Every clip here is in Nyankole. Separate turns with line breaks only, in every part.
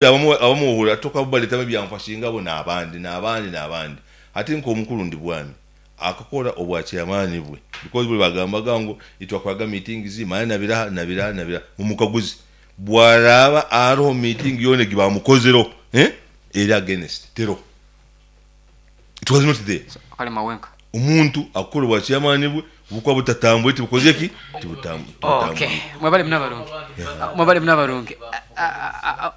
Abamuhurira tokabaletamu ebyanfa singa bo nabandi nabandi nabandi. Hati nk'omukuru Ndibwami akakora obwa chairman bwe because buli bagambaga ngu itwakoraga meetings manya nabiraha nabiraha nabiraha mumukaguze bwaraba aroho meeting yona egi bamukozereho eri against teroho it was not there.
Akalema wenka.
Omuntu akukora obwa chairman bwe bukuba butatambwire tibukoze ki?
Tibutambwire. Okay, mwebale muno abarungi. Mwebale muno abarungi.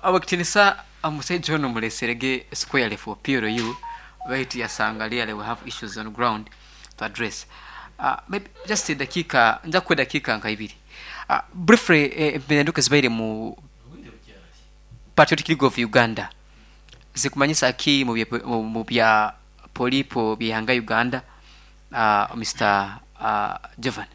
Awekitinisa omusaija ono mulesere ge squarely for PLU baitu yasanga really we have issues on ground to address. Uh, maybe just edakiika nja kukuwa edakiika nka ibiri. Uh, briefly empindahinduka ezibaire mu Patriotic League of Uganda zikumanyisa ki mu bya polipo by'eihanga Uganda Mister Jovan?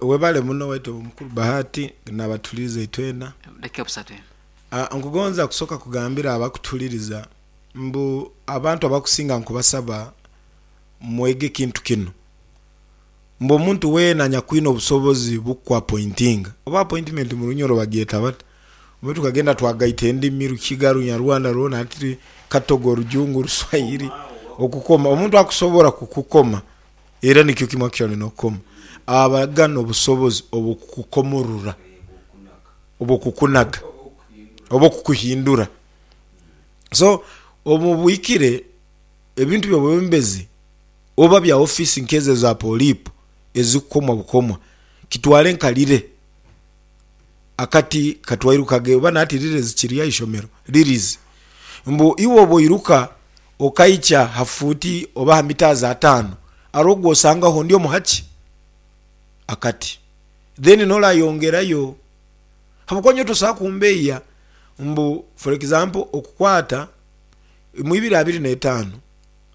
Webale muno waitu omukuru Bahati nabatuhuliriza itwena.
Dakika busatu eno.
Nkugonza kusoka kugambira abakutuhuliriza mbu abantu abakusinga nkubasaba mwege ekintu kinu mbu omuntu weena anyakwine obusobozi bukuapointinga oba appointment murunyoro bagyeta bata? Obu tukagenda twagaita endimi, Rukiga, Runyarwanda rwona hati Katogo, Rujungu, Ruswahili, okukoma. Omuntu akusobora kukukoma era nikyo kimwe actually n'okukoma, abaga n'obusobozi obw'okukukomorora, obw'okukunaga, oba okukuhindura. So omu buhikire ebintu by'obwebembezi oba bya ofiisi nk'ezo eza poliipu ezikukomwa bukomwa, kitwale nka lire. Akati katwairuka ghe oba nati lire zikiri aishomero lirizi mbu iwe obwoiruka okaikya ha fuuti oba ha mitazi ataanu are ogwosangaho ndi omuhaki akati then norayongerayo habwokuba nyowe tosobola kumbeia mbu for example okukwata mu ibiri abiri netaanu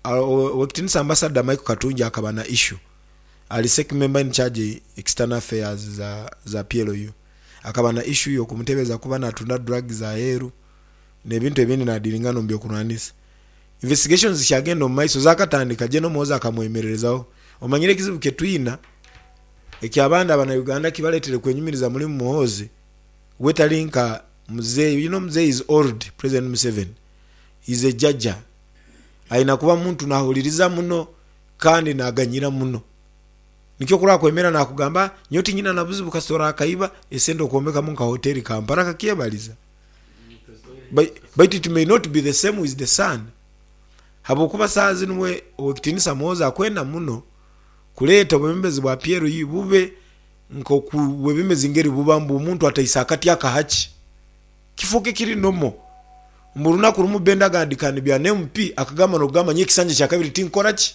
owekitinisa ambassador Michael Katungi akaba na issue Ali sec member in charge external affairs za PLU. Akaba na issue yo kumutebeza kuba natunda drugs aheru nebintu ebindi nadiringana omu byokurwanisa. Investigations zikyagenda omu maiso zakatandika Gen Muhoozi akamwemererezaho. Omanyire ekizibu kyetwina ekyabandi abana Uganda kibaretere kwenyumiriza mulimu Muhoozi we tali nka muzei you know muzei is old president Museveni is a jjaja ayina kuba muntu nahuririza muno Kandi naaganyira muno. Nikyo ku oraakwemera naakugamba, Nyowe tinyina na buzibu kasita oraakaiba esente okwombekamu nka hoteri Kampala akakyebariza. Baitu it may not be the same with the son. Habwokuba saaha zinu we Owekitiinisa Muhoozi akwenda muno kureeta obwebembezi bwa PLU bube nk'oku bwebembezi ngeri buba mbu omuntu ataisa akati akahaki. Kifuuke kiri normal. Mbu orunaku rumu Benda agandika ni bya MP akagamba nokugamba nyowe ekisanja kyakabiri tinkukora ki?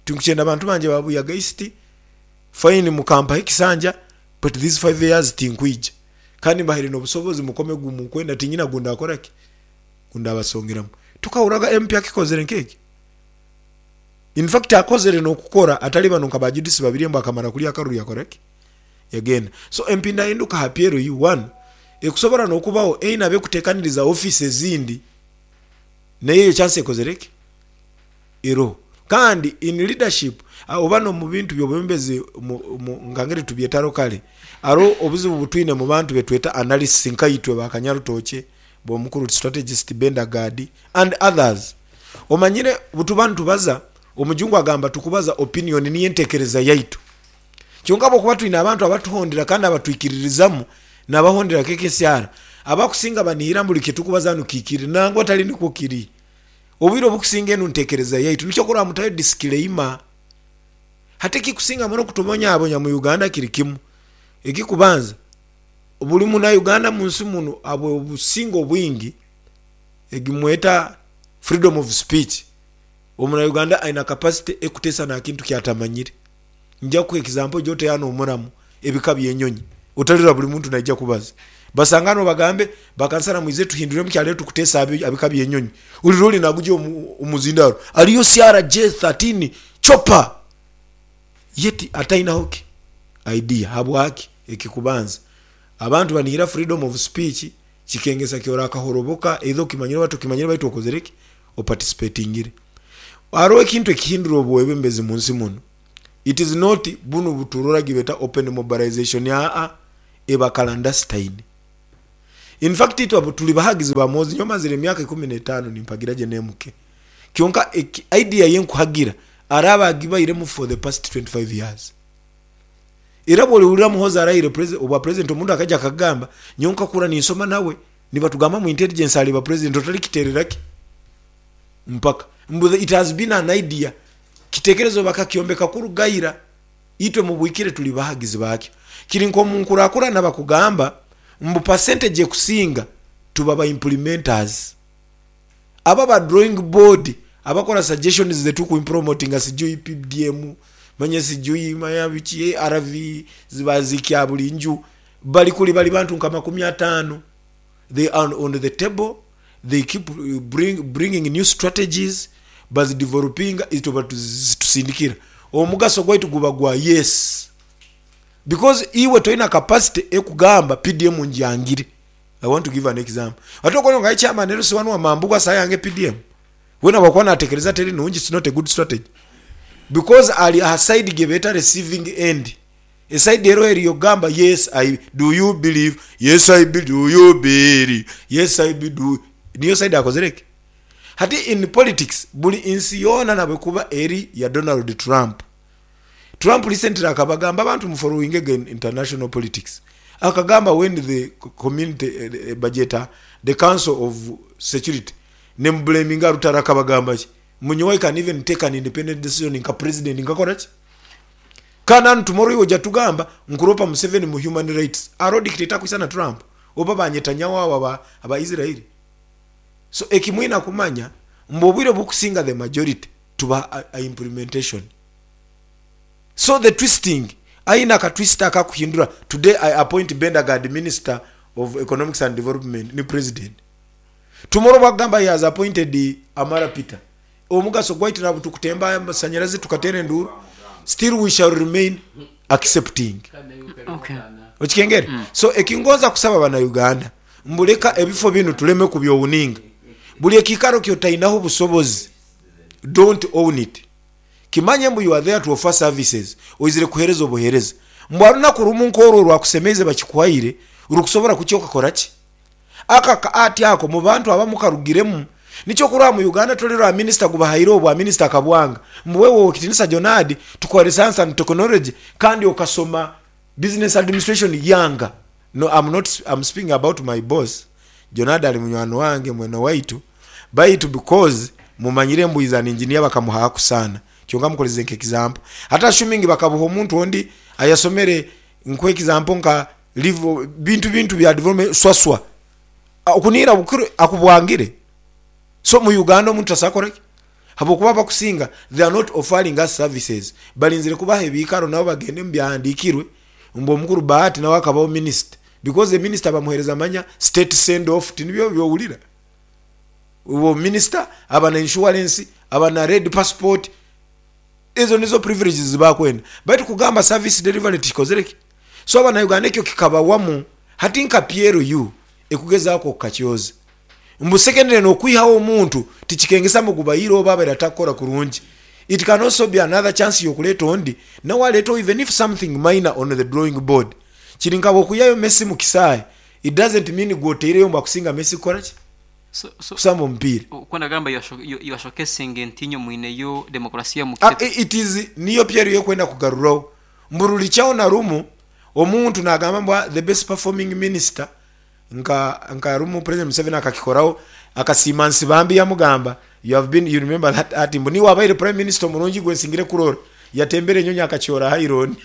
Tinkukyenda bantu bangye ba Buyaga East, fine mukampaho ekisanja but these 5 years tinkwija. Kandi mbahaire nobusobozi mukome gumukwenda tinyina gundakora ki? Gundabasongeramu. Tokahurraga MP akikozere nkekyo? In fact akozere nokukora atari bano nka ba Judith Babirye mbu akamara kurya akaruru yakora ki? Yagenda. So empindahinduka aha PLU one ekusobora nokubaho eine abekutekaniriza office ezindi nayo eyo chance ekozere ki? Eroho. Kandi in leadership oba nomubintu byobwebembezi nka ngeri tubyeta locally haroho obuzibu obutwine mubantu betweta analysts nkaitwe ba Kanyarutookye, bomukuru strategist Benda Gad and others. Omanyire butuba nitubaza omujungu agamba tukubaza opinion niyo entekereza yaitu. Kyonka ahabw'okuba twine abantu abatuhondera kandi abatwikiririzamu n'abahondera KKCR, abakusinga banihira mbu buri kitukubaza hanu kihikire. Nangwa tari nikwo kiri. Obwire obukusinga enu ntekereza yaitu. Nikyo kurora mutayo disclaimer. Hati ekikusinga muno kutubonyabonya mu Uganda kiri kimu. Ekikubanza, buri muna Uganda munsi munu ahabw'obusinge obwingi egi mweta freedom of speech, omuna Uganda aine capacity ekutesa nakintu kyatamanyire. Nja kukuha example oije ote hanu omuramu ebika by'enyonyi otalirora buri muntu naija kubaza. Basangane obagambe bakansara mwije tuhindure mukyaro tukutesa aha bika by'enyonyi. Olire ori naguja omuzindaro aliyo CRJ 13 chopper yet atainaho ki idea habwaki? Ekikubanza abantu banihira freedom of speech kikengesa ki orakahoroboka either okimanyire oba tokimanyire baitu okozire ki? Oparticipatingire. Haroho ekintu ekihindura obwebembezi munsi munu. It is not bunu buturora gibeta open mobilization aa eba clandestine. In fact itwe abo turi bahagizi ba Muhoozi nyowe mazire emyaka 15 nimpagira gye n'MK. Kyonka idea ye nkuhagira araabe agibairemu for the past 25 years. Era bw'orihurira Muhoozi arahire obwa president omuntu akaija akagamba nyowe nkakura ninsoma nawe nibatugamba mu intelligence ariba president otarikiterera ki mpaka mbu it has been an idea kitekerezo bakakyombeka kuruga ira itwe mubwikire turi bahagizi bakyo. Kiri nk'omunkurakurana bakugamba mbu percentage ekusinga tuba ba implementers. Abo aba drawing board abakora suggestions zetu impromotinga sijui PDM manya sijui manya biki ARV zibazikya buli nju bali kuli bali bantu nka 50 they are on the table they keep bringing new strategies bazidevelopinga itwe batusindikira omugaso gwaitu guba gwa yes because iwe toina capacity ekugamba PDM njangire. I want to give an example. Ate okubona nga aye chairman LC wanu wa Mambugu asayange PDM. Wena bwakuba natekereza teri nungi it's not a good strategy. Because ali aha side gyebeta receiving end. E side ero eriyo gamba yes I do you believe yes I be do you believe yes I be do niyo side akozere ki? Hati in politics buli nsi yoona nabwekuba eri ya Donald Trump. Trump recently akabagamba abantu mu followinge ge international politics akagamba when the community bagyeta the council of security nemublaminga rutaro akabagamba ki mbu nyowe I can even take an independent decision nka president nkakora ki kandi hanu tomorrow iwe oja tugamba nkuropa Museveni mu human rights aro dictator akwisana Trump oba ba Netanyahu abo aba aba Israel so ekimwina kumanya mbu obwire obukusinga the majority tuba a implementation. So the twisting, aine aka twist akakuhindura, today I appoint Bendagard minister of economics and development ni president. Tomorrow bwakugamba he has appointed Amara Peter. Omugaso gwaitu nabwo tukutemba amasanyarazi tukateera enduuru, still we shall remain accepting.
Okay.
Okikengere? So ekingonza kusaba bana Uganda mbu leka ebifo binu tuleme kubyowninga. Buli ekiikaro kyotainaho busobozi, don't own it. Kimanye mbu you are there to offer services, oizire kuhereza obuhereza. Mbu arunaku rumu nkorwo orwakusemeize bakikuhaire, rukusobora kukya okakora ki? Aka ka art ako mu bantu abamu karugiremu. Nikyo okurora mu Uganda toli rwa minister gubahaire obwa minister akabwanga. Mbu wewe Owekitinisa Jonadi tukuhaire science and technology kandi okasoma business administration yanga. No am not am speaking about my boss, Jonadi ali munywani wange mwene waitu baitu because mumanyire mbu is an engineer bakamuhaku sana kyonka mukoreze nka example. Hati assuming bakabuha omuntu ondi ayasomere nkuhe example nka live bintu bintu bya development swaswa okunihira bukuru akubwangire. So mu Uganda omuntu tasobola kukora ki? Habwokuba abakusinga they are not offering us services barinzire kubaha ebiikaro nabo bagende omu byahandiikirwe mbu omukuru Bahati nawe akabaho minisita because a minister bamuhereza manya state send off tinibyo byowulira? Obu minisita aba na insurance, aba na red passport ezo nizo privileges zibakwenda baitu kugamba service delivery tikikozire ki? So abanauganda ekyo kikabawamu hati nka PLU ekugezaaku okukakyoza. Mbu secondly nokwihaho omuntu tikikengesa mbu gubaire oba abaire atakukora kurungi. It can also be another chance yokuleta ondi nawe aleteho even if something minor on the drawing board. Kiri nka bwokwihayo Messi mu kisaahe it doesn't mean gwe oteireyo mbu akusinga Messi kukora ki?
So, so,
Kusamba omupiira.
Oku nagamba you are, you are showcasing nti inywe mwineyo demokrasiya mu
Ah,
kitebe.
it is niyo PLU ekwenda kugaruraho. Mbu rulikyaho na rumu omuntu nagamba mbu ah, the best performing minister Nka nka rumu president Museveni akakikoraho akasiima Nsibambi yamugamba you have been you remember that ati mbu niiwe abaire prime minister omurungi gwe nsingire kurora. Yatembera enyonyi akakyora Hiron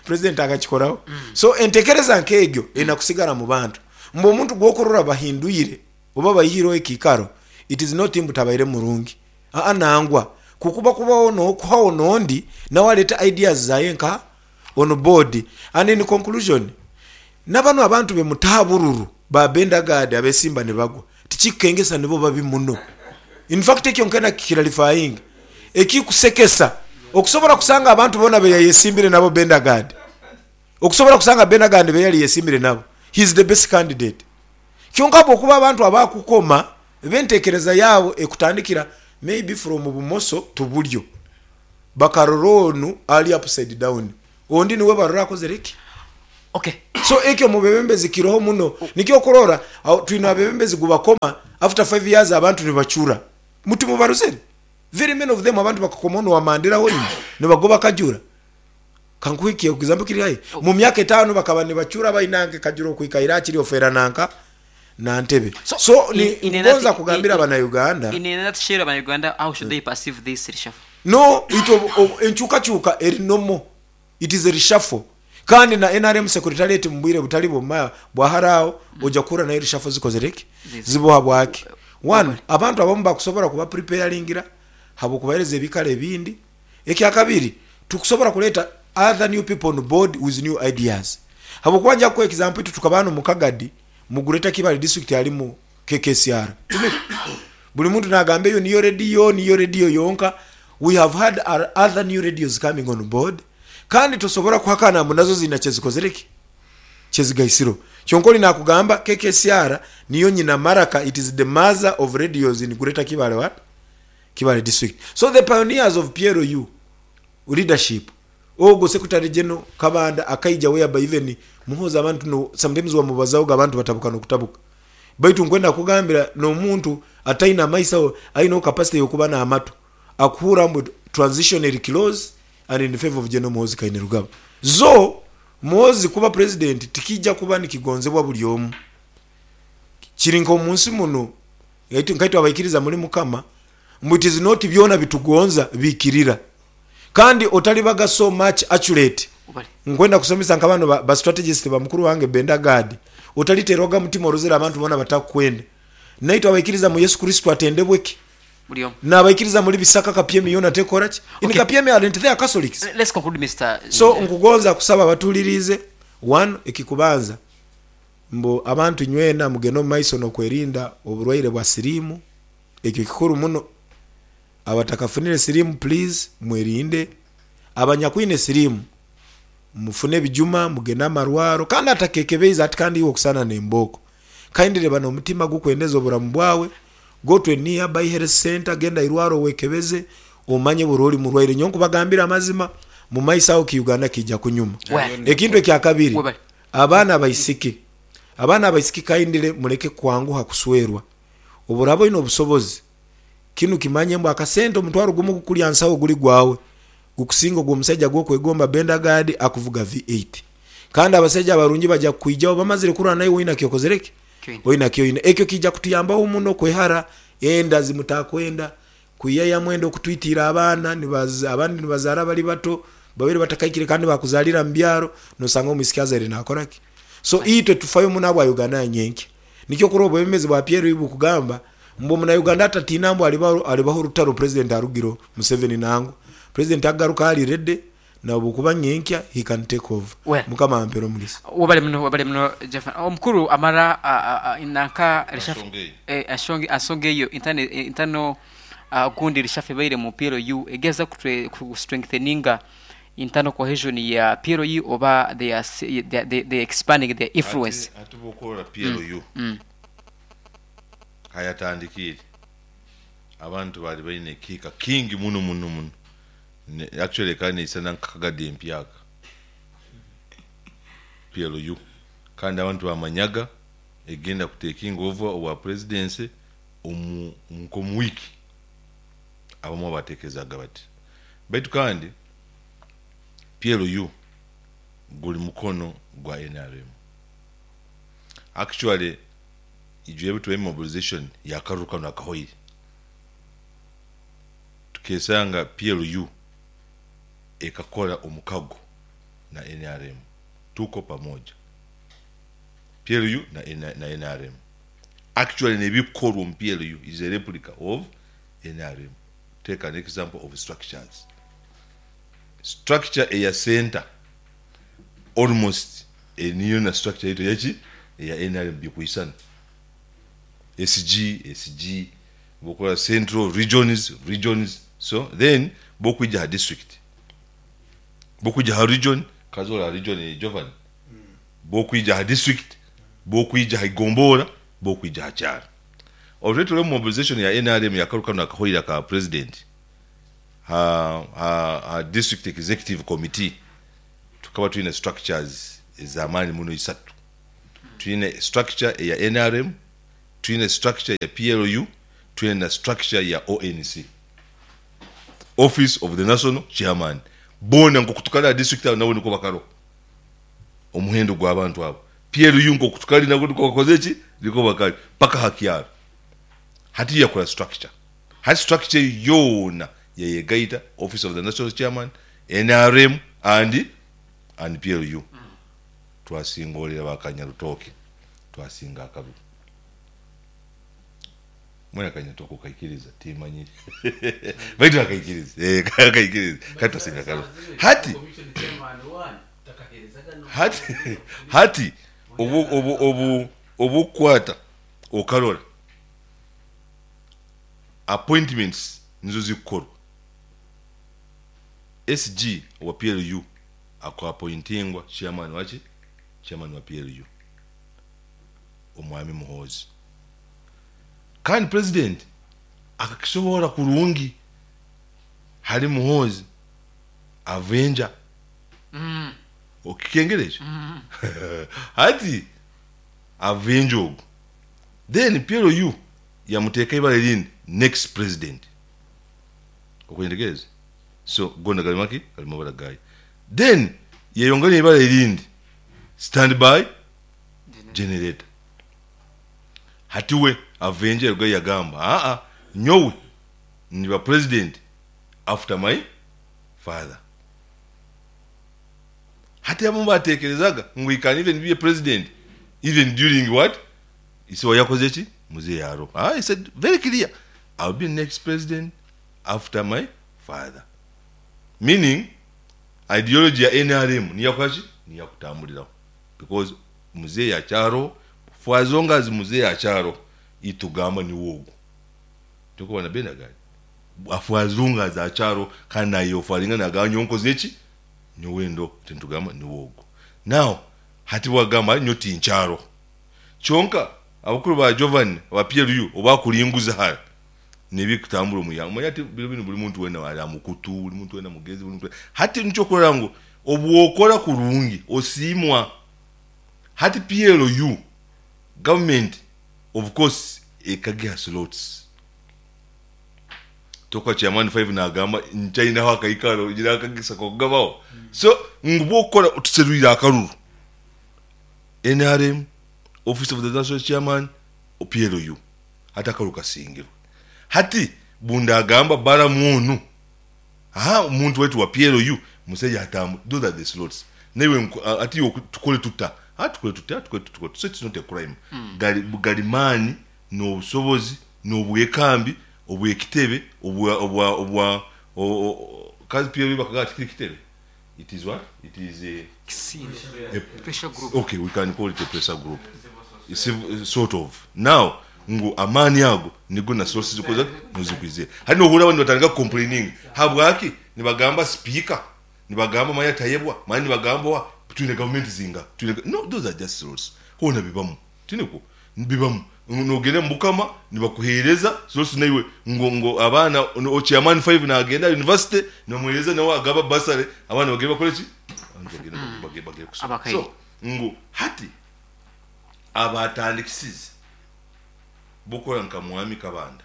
president akakikoraho. So entekereza nk'egyo eine kusigara mu bantu. Mbu omuntu gwokurora bahindwire oba baihireho ekiikaro it is not mbu tabaire murungi. Aa nangwa kukuba kubaho nokuhaho nondi nawe alete ideas zaye nka on board. And in conclusion Nabanu abantu be mutaha bururu ba Benda Guard abesimba ni bagwa tikikukengesa nibo babi muno. In fact ekyo nkena kikiralifayinga. Ekikusekesa okusobora kusanga abantu bona beyayesimbire nabo Benda Guard okusobora kusanga Benda Guard beyali yesimbire nabo he is the best candidate. Kyonka bwokuba abantu abakukoma bentekereza yabo ekutandikira maybe from bumoso to bulyo bakarora onu ali upside down ondi niwe barora akozere ki?
Okay.
So ekyo omu bebembezi kiroho muno. Nikyo okurora aho twine abebembezi gubakoma after 5 years abantu nibacura. Muti mubaruzire? Very many of them abantu bakakoma onu owamandira hoima nibagoba kajura. Kankuhe ki example kiri haihi. Mu myaka etano bakaba nibacura bainange kajura okwikaire akiri ofera nanka na ntebe.
So,
So
in,
ni
in a
ngonza
nut,
kugambira
in,
abana Uganda.
in a nutshell, abana Uganda, how should they perceive this reshuffle?
No, itwe enkyukakyuka eri normal. It is a reshuffle. Kandi na nrm secretariat mu bwire butali bwa bwa hare aho oja kuhurira nayo reshuffle zikozire ki? Ziboha bwaki? One, abantu abamu bakusobora kuba preparingira habw'okubahereza ebikaro ebindi. Ekyakabiri, tukusobora kureeta other new people on board with new ideas. Habw'okuba nja kukuha example itwe tukaba hanu mu Kagadi mu Greater Kibale district harimu KKCR. Buri muntu nagamba eyo niyo rediyo, niyo rediyo yonka. We have had other new radios coming on board kandi tosobora kuhakana mbu nazo ziina kyezikozire ki? Kyezigaisirwe. Kyonka ori nakugamba KKCR niyo nyina maraka, it is the mother of radios in Greater Kibale what? Kibale district. So the pioneers of PLU leadership ogwo Secretary General Kabanda akaija whereby even Muhoozi abantu no sometimes wamubazahoga abantu batabuka nokutabuka. Baitu nkwenda kukugambira nomuntu ataine amaiso aineho capacity yokuba namatu akuhurra mbu transition eri close and in favour of General Muhoozi Kainerugaba. Zo Muhoozi kuba president tikija kuba nikigonzebwa buri omu. Kiri nkomunsi muno nkaitwe abaikiriza muri Mukama mbu it is not byona bitugonza bikirira. Kandi otalibaga so much accurate. Nkwenda kusomesa nka bano ba strategist ba mukuru wange Benda Gad. Otaliterwaga mutima orozere abantu bona batakukwenda. Naitwe abaikiriza mu Yesu Kristo atendebwe ki?
Buri omu.
Nabaikiriza muri Bisaka Kapyemi yona tekora ki? In
Okay.
Kapyemi aren't there Catholics?
Let's conclude Mister
So nkugonza kusaba abatuliriize, one, ekikubanza mbu abantu inywena mugende omu maiso nokwerinda oburwaire bwa siriimu, ekyo kikuru muno. Abatakafunire siriimu please mwerinde, abanyakwine siriimu mufune ebijuma mugende amarwaro kandi atakekebeize ati kandi iwe okusana nembooko. Kindly ba nomutima gukwendeza oburamu bwawe, go to a nearby health center, genda airwaro wekebeze omanye buri ori murwaire. Nyowe nkubagambire amazima mumaiso aho ki Uganda kiija kunyuma. Ekintu ekyakabiri, abaana abaisiki, abaana abaisiki kindly mureke kwanguha kuswerwa. Obu oraba oine obusobozi Kinu kimanye mbu akasente omutwaro gumu ogukurya nsaho guri gwawe gukusinga ogw'omusaija gw'okwegomba Benda Gad akuvuga V8. Kandi abasaija abarungi baja kukwijaho bamazire kurora naiwe oina kyokozire ki? Oina kyoine. Ekyo kiija kutuyambaho muno kwehara enda zimutakwenda, kwiyayamu enda okutwitiira abaana, abandi nibazaara bari bato, babaire batakaikire kandi bakuzaalira mu byaro, nosanga omwisiki azaire nakora ki? So itwe tufayo muno ahabwa Uganda ya nyenkya. Nikyo kurora obwebembezi bwa PLU bukugamba Mbu omunauganda atatiina mbu haribaho orutaro president arugireho Museveni nangwa president agaruka ari ready nobwokuba nyenkya he can take over.
Well.
Mukama ampere omugisa.
Webale muno webale muno Jaffa. Omukuru amara nanka reshafe
Ansonga eyo.
anshonga ansonga eyo intane intano gundi reshafe ebaire mu PLU egeza kutwe ku strengtheninga internal cohesion ya PLU oba they are they, they expanding their influence.
Hati hati bwokorora PLU Ahayatandikiire, abantu baali baine ekihika kingi muno muno muno. Actually ekaba neisana nka Kagadi empyaka, PLU. Kandi abantu bamanyaga egenda ku takinga over obwa presidency omu nk'omu wiiki. Abamwe batekerezaga bati. Baitu kandi PLU guli mukono gwa nrm. Actually Ijo ebi tubaire mobilization ya karuru kanu akahoire, tukesanga PLU ekakora omukago na nrm, tuko pamoja, PLU na nrm. Actually nebikukorwa omu PLU is a replica of nrm. Take an example of structures, structure eya center almost niyo na structure yaitu eyaki? Eya nrm bikwisana. SG, SG, bwokurora central, regions, regions, so then bwokwija aha district, bwokwija aha region, kazoora aha region Jovan, bwokwija aha district, bwokwija aha igombora, bwokwija aha kyaro. Already turi omu mobilization ya nrm yakaru kanu akahoire aka president ha ha ha district executive committee tukaba twine structures. ez'amaani muno isatu. Twine structure eya nrm, twine structure ya PLU, twine na structure ya ONC, Office of the National Chairman. Boona nk'oku tukari aha district aho nabo nikwo bakariho. Omuhendo gw'abantu abo. PLU nk'oku tukari nabo nikwo bakoze ki? Nikwo bakari paka aha kyaro. Hati yakora structure. Hati structure eyo yoona yayegaita, Office of the National Chairman, nrm and and PLU. Twasingorera ba Kanyarutooke, twasinga akaruru. Mbwenu Akanyarutooke okaikiriza timanyire baitu akaikiriza, eh, akaikiriza kandi twasinga akaruru. Hati hati hati obu obu obu obukukwata okarora appointments nizo zikukorwa. SG owa PLU aku appointingwa chairman waki? Chairman wa PLU Omwami Muhoozi. Kandi president akakisoboora kurungi hali Muhoozi avenger. Okikengera ekyo? Hati avenger ogu then PLU yamuteeka ibara erindi next president. Okwentegereza? So gona gari maki? Gari mabara gayo. Then yeyongera eibara erindi stand by generator. Hati we avenger yarugayo yagamba aa nyowe ndiba president after my father. Hati abamu batekerezaga ngu he can even be a president even during what? Ise wayakoze ki? Muzei aroho. Aa he said very clear I will be next president after my father. Meaning ideology ya nrm niyo yakukola ki? Niyo yakutambuliraho because muzeeyi akyaroho for as long as muzeeyi akyaroho itugamba niwe ogu. Tikuba na Benagadi for as long as akyaroho kandi nayeofaringa nagamba nyowe nkoze ki? Nyowe ndoho nitugamba niwe ogu. Now hati bwagamba nyowe tinkyaroho kyonka abakuru ba Jovan aba PLU obakuringuza hare nebikutambura omu ihanga. Omanye hati biro binu buri muntu weena ari aha mukutu, buri muntu weena mugezi, buri muntu weena. Hati nikyo okurora ngu obu okora kurungi osiimwa. Hati PLU government of course ekagiha slots. Tokuba chairman five nagamba nkyainaho akaikaro nyine akagisa kokugabaho. So ngu bwokukora tuserwire akaruru. Nrm, office of the national chairman, PLU. Hati akaruru kasingirwe. Hati bundagamba Balamu onu, aha omuntu waitu wa PLU musaija atambu, those are the slots. Naiwe nku, hati iwe tukore tuta? Ha tukore tuta, tukore tuta, tukore tuta. So it's not a crime. Gari, gari maani n'obusobozi n'obwekambi obw'ekitebe obwa, obwa, obwa, o, o, kazi PLU bakagamba tikiri kitebe? It is what? It is a,
Kisinde.
a
Pressure group.
Okay, we can call it a pressure group. Civil, sort of. Now, ngu amaani ago nigo na sources zikoze nizikwizire. Hati nohurira abandi nibatandika kucomplaininga. Habwaki? Nibagamba speaker, nibagamba manya Tayebwa, manya nibagamba oha, twine government zingaha? Twine no, those are just slots. Hoona bibamu. Tinikwo? Bibamu. Nogenda omu Bukama nibakuheereza slots naiwe ngu ngu abaana o chairman five nagenda aha university nibamuheereza nawe agaba bursary abaana bagende bakore ki? Abandi bagende bagende bagende kusoma.
Abakaire.
So ngu hati abatandikisize bokora nka Mwami Kabanda,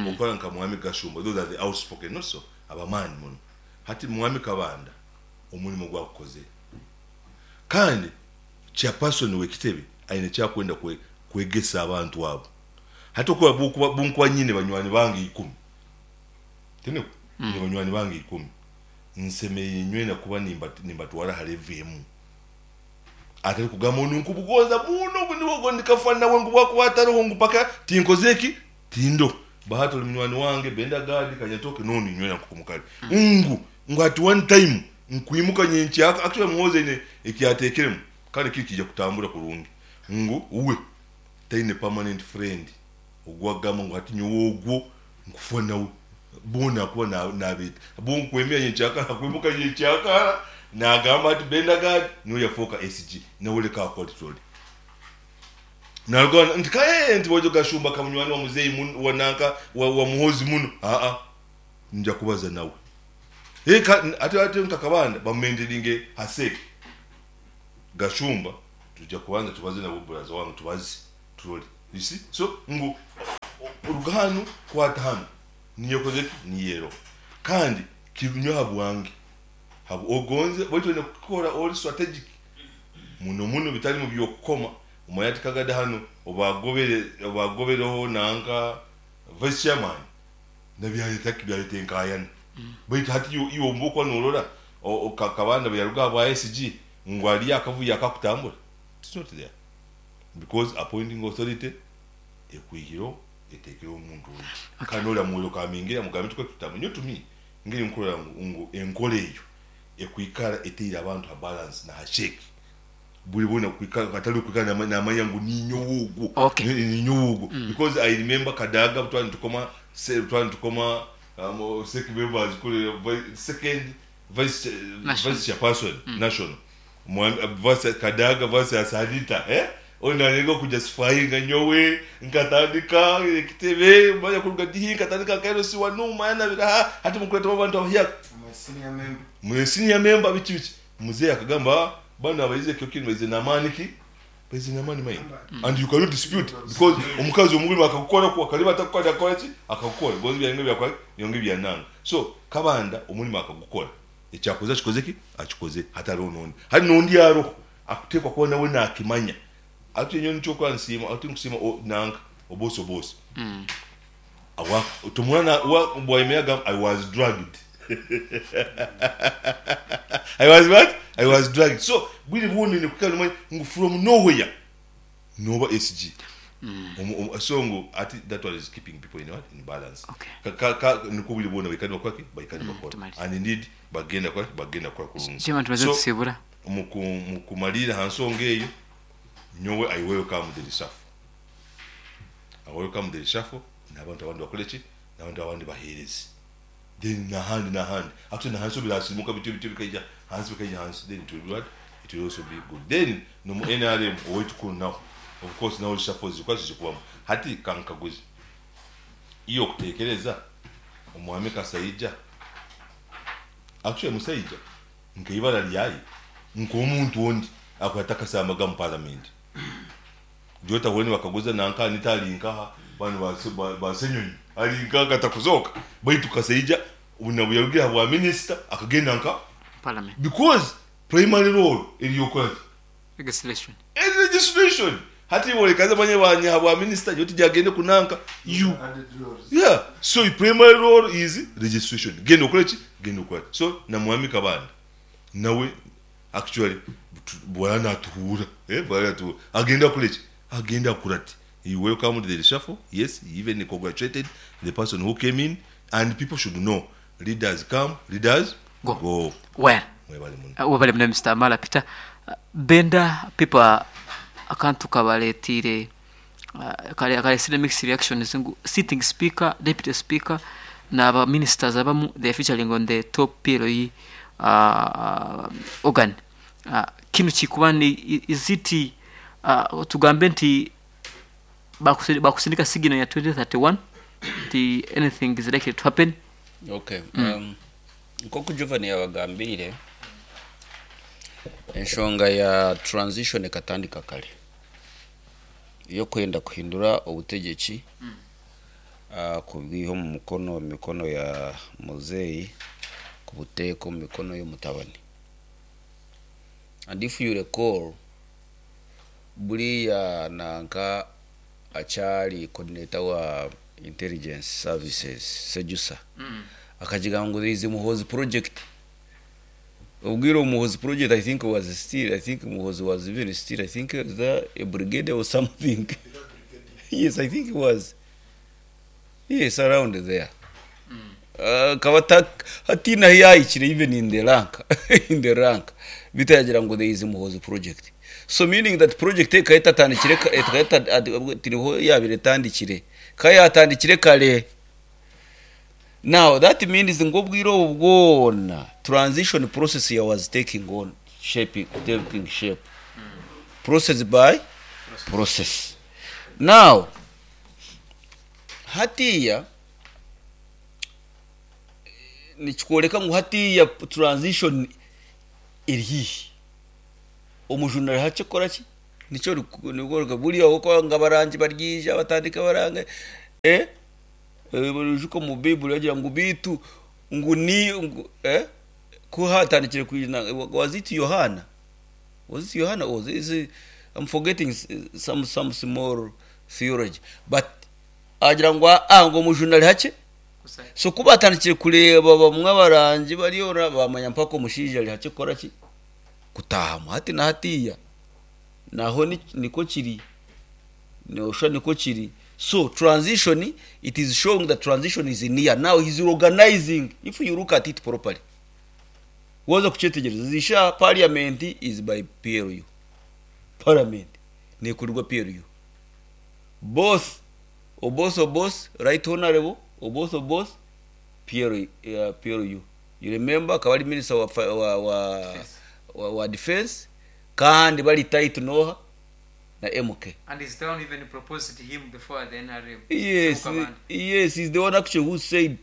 okora nka Mwami Gashumba, those are the outspoken, not so? Abamaani muno. Hati Mwami Kabanda omurimo ogu agukozire. Kandi chairperson w'ekitebe aine eki arikwenda kwegesa abantu abo. Hati okuba bunkuba nyine banywani bange ikumi, tinikwo? Nyine banywani bange ikumi, nsemereire nywena kuba nimbatwara aha level emwe. Atari kugamba ngu ninkubugonza muno ogu niwe ogu ndikafa nawe ngu bwakuba atariho ngu mpaka tinkoze ki? Tindoho. Bahati ori munywani wange, Benda Gadi, Kanyatoke n'ondi nywena nk'oku mukari. Ngu ngu at one time nkwimuka nyenkyaka, actually Muhoozi aine eki yateekiremu kandi kiri kiija kutambura kurungi ngu we taine permanent friend ogu akugamba ngu hati nyowe ogwo nkufa nawe. Boona akuba nabeeta bo nkwemera nyenkyakara akwimuka nyenkyakara nagamba ati Benda Gadi niwe yafooka SG nawe leka akore turore. Naruga nti kaye nti bojo Gashumba ka munywani wa muzeeyi muno wa nanka wa Muhoozi muno aa nja kubaza nawe. Ate ate nka Kabanda bamumenteninge ha sec. Gashumba tujja kubanza tubaze nabo buraza wange tubaze turole. You see? So ngu oruga hanu kwata hanu niyo okoze ki? Niyo eroho. Kandi kiri aha bwange ogonze baitu oine kukora ori strategic muno muno bitari mu by'okukoma omanye ati kagada hanu obagobere obagobereho nanka vice chairman nabyareta ki byareta enkayana baitu hati iwe iwe obu okuba norora Kabanda bweyaruga aha bwa SG ngu hariyo akavuyo akakutambura it's not there because appointing authority ekwihireho eteekereho omuntu ondi kandi oriya muwerokaminge amugambe tukore tutambure nyowe to me ngeri nkurora ngu enkora eyo ekwikara eteire abantu ha balance na ha shake buri boona kwikara hatari kwikara namanya ngu ninyowe ogwo
Okay.
ninyowe ogwo because I remember Kadaga twali nitukoma twali nitukoma sec members kuri second vice
National.
vice chairperson national Mwami versus Kadaga versus Anita eh onu narenga kujustifyinga nyowe nkatandika ekitebe manya kuruga dihi nkatandika nka LC wanu manya nabiraha hati mukuretamu abantu abahyaka mwe senior member biki biki muzeyi akagamba banu abaize ekyo kintu baize namani ki baize namani maingi and you cannot dispute because omukazi omurimo akakukora ku akariba atakukora akakora ki akakukora gonzi byange byakora byonge byananga so Kabanda omurimo akagukora ekyakoze akikoze ki akikoze hatariho nondi hari nondi aroho akutekwa kuba nawe nakimanya ati nyowe nikyo okuba nsiima ati nkusiima nanka obosi obosi awa tumwana wa bwayemera agamba I was drugged I was what I was drugged so bwire bwona oine kwikara nomanya ngu from nowhere noba SG so ngu ati that one is keeping people in what in balance
Okay.
ka, ka, ka, nikwo obwire bwona baikara nibakora ki baikara nibakora
tumarize.
and indeed bagenda kukora ki bagenda kukora kurungi
Chairman tumaze
so
tusibura.
Mukumariira aha nsonga eyo nyowe I welcome the reshuffle I welcome the reshuffle n'abantu abandi bakore ki n'abantu abandi baheereze then n'ahandi n'ahandi actually n'ahansi ho birasirimuka bityo bityo bikaija hansi bikaija hansi then it will be what it will also be good then n'omu NRM owaitu kunu naho of course naho reshuffle zirikuba zirikubamu hati kankaguze iwe okutekereza omwami Kasaija Actually musaija nka ibara ryaye nkomuntu ondi akuba atakasambaga mu parliament jota hone bakaguza nanka Anita ari nkaha banu ba Ssenyonyi ari nkaha katakuzoka baitu Kasaija nabuyarugire ahabwa minister akagenda nka
Parliament
because primary role eri yokukoraki
legislation.
Eri legislation hati iwe orekaze manye banya ahabwa minister nyowe tiryagende kunanka you yeah so your primary role is registration genda okore ki genda okore so na mwami Kabanda nawe actually bwara natuhuura eh bwara natuhuura agenda akore ki agenda akurate he welcomed the reshuffle yes he even congratulated the person who came in and people should know leaders come leaders
Go.
go
Well,
mwebale muno
webale muno Mister Amala Peter. Benda people akantu kabareetiire karesire mixed reactions ngu sitting speaker, deputy speaker na ba ministers abamu they are featuring on the top PLE organ. Kinu kikuba ni is it tugambe nti bakusindika signal ya 2031 nti anything is likely to happen?
Okay. Nk'oku Jovan yabagambiire, enshonga ya transition ekatandika kare ey'okwenda kuhindura obutegyeki kubwiha omu mukono omu mikono ya muzeeyi kubuteeka omu mikono y'omutabani. And if you recall, buriya nanka akyari coordinator wa intelligence services Sejusa akagira ngu there is a Muhoozi project. Obwire Muhoozi project I think was still, I think Muhoozi was even still, I think was there a brigade or something. Yes, I think it was. Yes, around there. Akaba hatiine ahu yaahikire even in the rank, in the rank. Beitu yaagira ngu there is Muhoozi project. So meaning that project ekaba etatandikire ekaba tiriho yaabaire etandikire. Ekaba yaatandikire kare. Now that means ngu obwire obu bwona transition process ya was taking on shaping, taking shape. Process by process. Now hatiiya nikikworeka ngu hatiiya transition eri haihi. Omujuni ari hakye kukora ki? Nikyo ori buriya ahabw'okuba ngu abarangi baryaija batandike barange, eh, oijuke omu Baiburi bagira ngu beitu ngu ni ngu eh, ku haatandikire kwija was it Yohaana? Was it Yohaana or is it, I'm forgetting some some small theology but agira ngu aa ngu omujuni ari hakye. So ku baatandikire kureeba bamwe abarangi bariyo baamanya mpaka omushaija ari hakye kukora ki? Kutaahamu. Hati na hatiiya naho nikwo kiri, nooshusha nikwo kiri. So transition, it is showing that transition is near. Now he is organizing, if you look at it properly. Waaza kukyetegyereza, ezi shaaha parliament is by PLU. Parliament neekurirwa PLU. Both Oboth Oboth, Right Honourable Oboth Oboth, PLU, PLU. You remember akaba ari minister wa, wa, wa, wa, wa defence kandi bari tight n'oha na MK.
And he's the one who even proposed him before the NRM.
Yes,
Ssebuuka bandi.
yes, he's the one actually who said,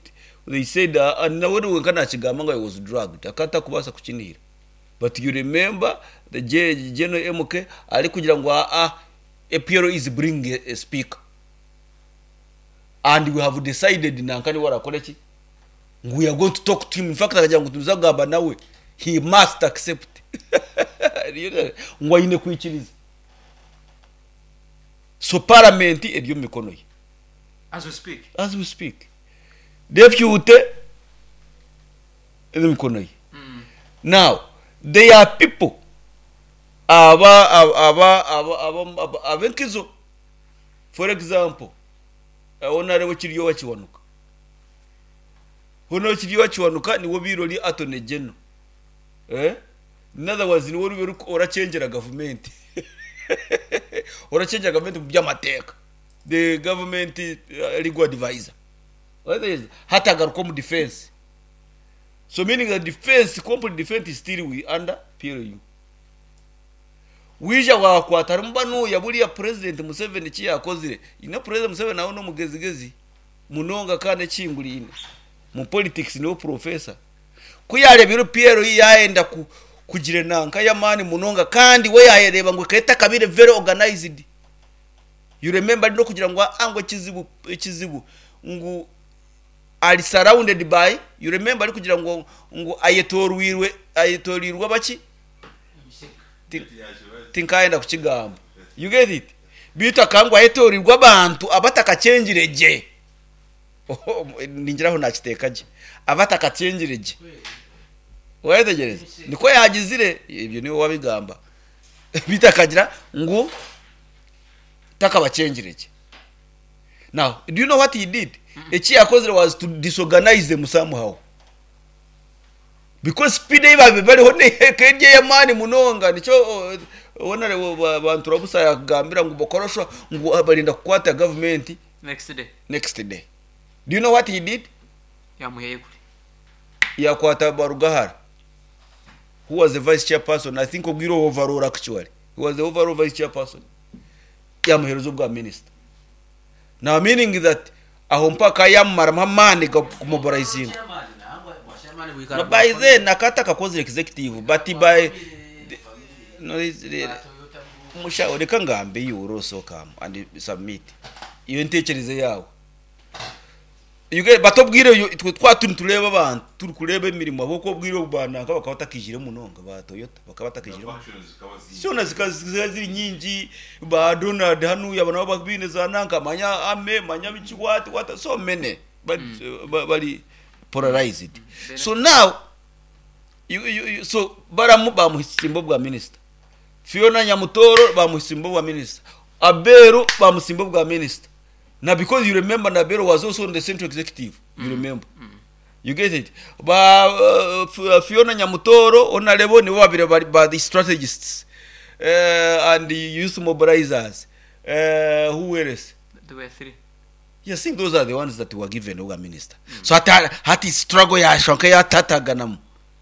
they said, and nawe wenka nakigamba ngu I was drugged, akaba atakubaasa kukinihira. But you remember the General MK arikugira ngu aa, APL is bringing a speaker and we have decided nanka niwe arakore ki? Ngu we are going to talk to him. In fact akagira ngu nituza kugamba nawe, he must accept. Ngu aine kwikiriza. So parliament eri omu mikono ye.
As we speak.
As we speak. Deputy eri omu mikono ye. Now, there are people aba aba aba aba ab'enkizo. For example, Honarebo Kiryowa Kiwanuka. Hoona Kiryowa Kiwanuka niwe obaire ori Attorney General. Eh? In other words, niwe oriba orachengyera gavumenti. Orachengyera gavumenti omu by'amateeka. The government legal advisor. Hati agaruka omu defence. So meaning that defence, complete defence is still with under PLU. Waija waakwata harimu banuya buriya President Museveni eki yaakozire. You know President Museveni nawe n'omugezigezi munonga kandi ekihinguraine. Mu politics niwe professor. Ku yaareebire PLU yaayenda kugira enanka y'amaani munonga kandi we yaayereeba ngu ekaba etakabaire very organized. You remember ari n'okugira ngu aa ngu ekizibu ekizibu ngu ari surrounded by, you remember arikugira ngu ngu ayetooroirwe ayetooroirwe abaki? Tinkayenda kukigamba. You get it? Beitu akaba ngu ayetooroirwe abantu abatakakyengire gye. Ningira aho naakiteeka gye. Abatakakyengire gye. Waayetegyereza? Nikwo yaagizire, ebyo niiwe waabigamba. Beitu akagira ngu takabakyengire gye. Now, do you know what he did? Eki yaakozire was to disorganize them somehow. Because speed ei baabaire bariho ekaba eri ey'amaani munonga. Nikyo Honarebo Banturabusa yaakugambira ngu bakora ngu barenda kukwata gavumenti
Next day.
next day. Do you know what he did?
Yaamuhayo kuri.
Yaakwata Barugahara who was the vice chairperson, I think obwire obwo overall actually. He was the overall vice chairperson. Yaamuheereza obwa minister. Now meaning that aho mpaka yamumaramu amaani g'okumobilizinga. No, by then akaba atakakozire executive but by no, mushaho reka ngambe you will also come and submit iyo ntekerezo yawe. You get, but obwire oyo itwe twaba turi nitureeba abantu turi kureeba emirimo ahabw'okuba obwire obu ba nanka bakaba batakijire munonga ba Toyota bakaba batakijire munonga. Zoona zikaba ziri nyingi ba Donald hanuya aba nabo baine za nanka manya army manya biki what what so many bari bari polarized. So now you, you, you, so baramu bamuhisimba obwa minister. Fiona Nyamutoro bamuhisimba obwa minister. Aberu bamusimba obwa minister. Na because you remember Nabero was also on the central executive, you remember. You get it? Ba Fiona Nyamutoro, Onalebo nibo babire bari ba the strategists and the youth mobilizers. Who else?
There were three.
Yes, I think those are the ones that were given over minister. So hati hati struggle yashonka yatataganamu.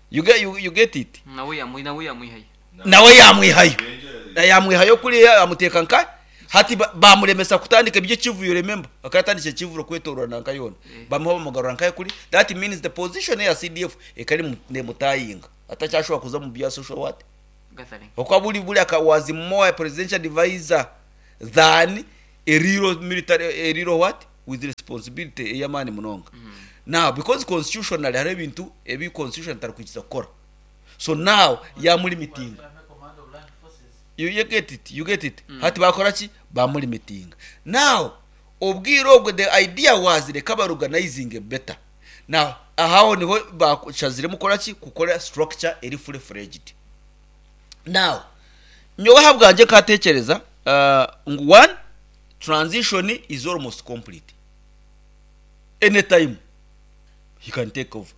You get you, you get it?
Nawe yamu nawe yamwihayo.
Nawe yamwihayo. Yamwihayo kuriya amuteeka nka hati bamuremesa kutandika eby'ekivuyo remember akaba yatandikire ekivuro kwetorora nanka yoona bamuha bamugarura nkaye kuri that means the position eya CDF ekaba eri nemutayinga atakyashobora kuza omu bya social what?
Gathering.
Okwa buri buri aka was more a presidential advisor than a real military a real what with responsibility ey'amaani munonga. Now because constitutionally hariho ebintu ebi constitution etarikwikiriza kukora. So now yamulimitinga. You, you get it, you get it. Hati bakora ki? Bamulimitinga. Now obwire obwo the idea was reka baorganizinge better. Now aho niho bashaziremu kukora ki? Kukora structure eri fully fledged. Now nyowe ahabwangye nkatekyereza ngu one transition is almost complete. Anytime he can take over.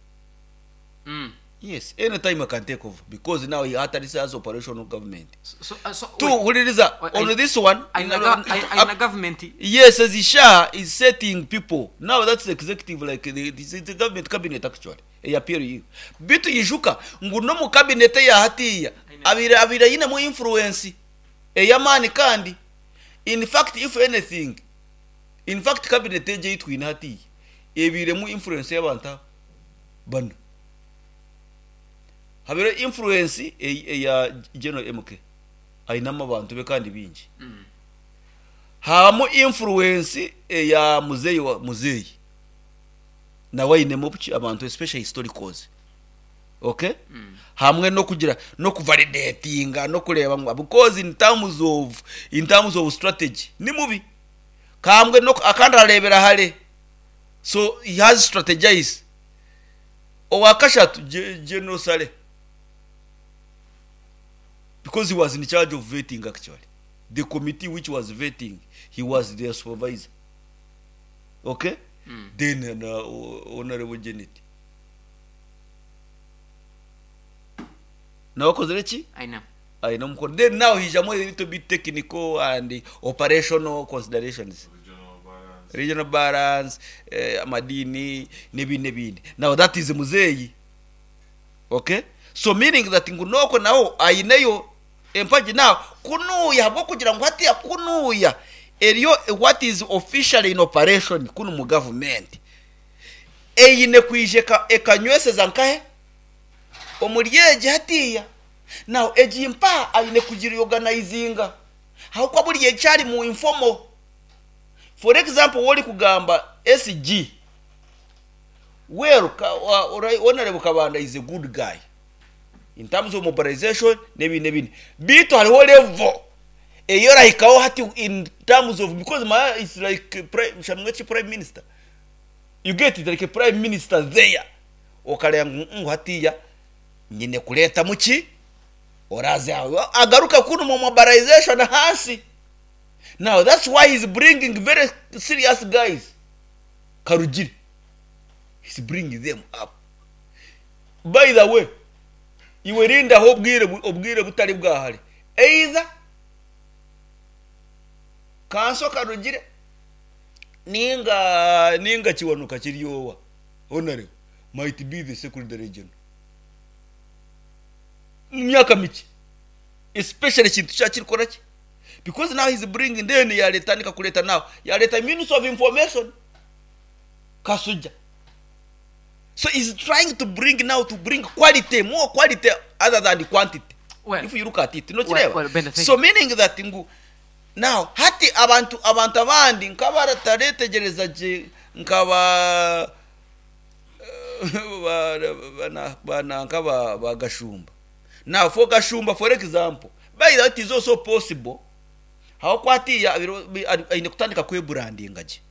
Yes, anytime he can take over because now he hatari has operational government.
So, so, so,
Two,
wait,
huririza
Wait,
on this one.
aina government
Yes, as Isha is setting people. Now that's the executive, like the government cabinet actually. Eya PLU. Bitu yijuka ngu no mu cabinet ya hatiya abira abira yine mu influence eyamani kandi in fact if anything in fact cabinet eje yitwine hatiya ebire mu influence y'abantu aba bano habire influence eya General MK ayinamo abantu be kandi bingi hamu influence eya muzeyi wa muzeyi nawe ayinemu abantu especially historicals okay hamwe no kugira no kuvalidatinga no kureba ngo because in terms of strategy ni mubi kambwe no akandi ararebera hare so he has strategized owakashatu General Saleh because he was in charge of vetting actually the committee which was vetting he was their supervisor okay then honorable Janet nawe akozire ki
aina
aina mukono then now hijamo a little bit technical and operational considerations regional balance amadini n'ibindi n'ibindi now that is muzeyi okay so meaning that ngu noko naho aineyo empagi now kunuya habwo kugira ngu hatiya kunuya eriyo what is officially in operation kunu mu government eyine kwije ekanyweseza nkahe omuri egi hatiya now egi mpa ayine kugira organizinga ahokwa buri ekyari mu informal for example wori kugamba SG well honorable Kabanda is a good guy in terms of mobilization n'ebindi n'ebindi bitu hariho level eyo rahikaho hati in terms of because my is like prime shamwe prime minister you get it like a prime minister there okareba ngu hatiya nyine kureta muki oraze agaruka kuno mu mobilization hasi now that's why he's bringing very serious guys Karugire he's bringing them up by the way iwe rinda aho obwire butari bwahari either kanso Karugire ninga kiwanuka kiryowa honorable might be the secretary general mu myaka mike especially ikintu cyakirikora ki because now he's bringing then yaleta nika kuleta now yaleta minister of information Kasuja so he's trying to bring now to bring quality more quality other than the quantity
Well,
if you look at it no
well,
kireba
well, Benda, thank
so
you.
meaning that ngu now hati abantu abandi nk'abarataretegereza je nkaba bana nkaba bagashumba now for Gashumba for example by that is also possible aho kwatiya aine kutandika kwebrandinga je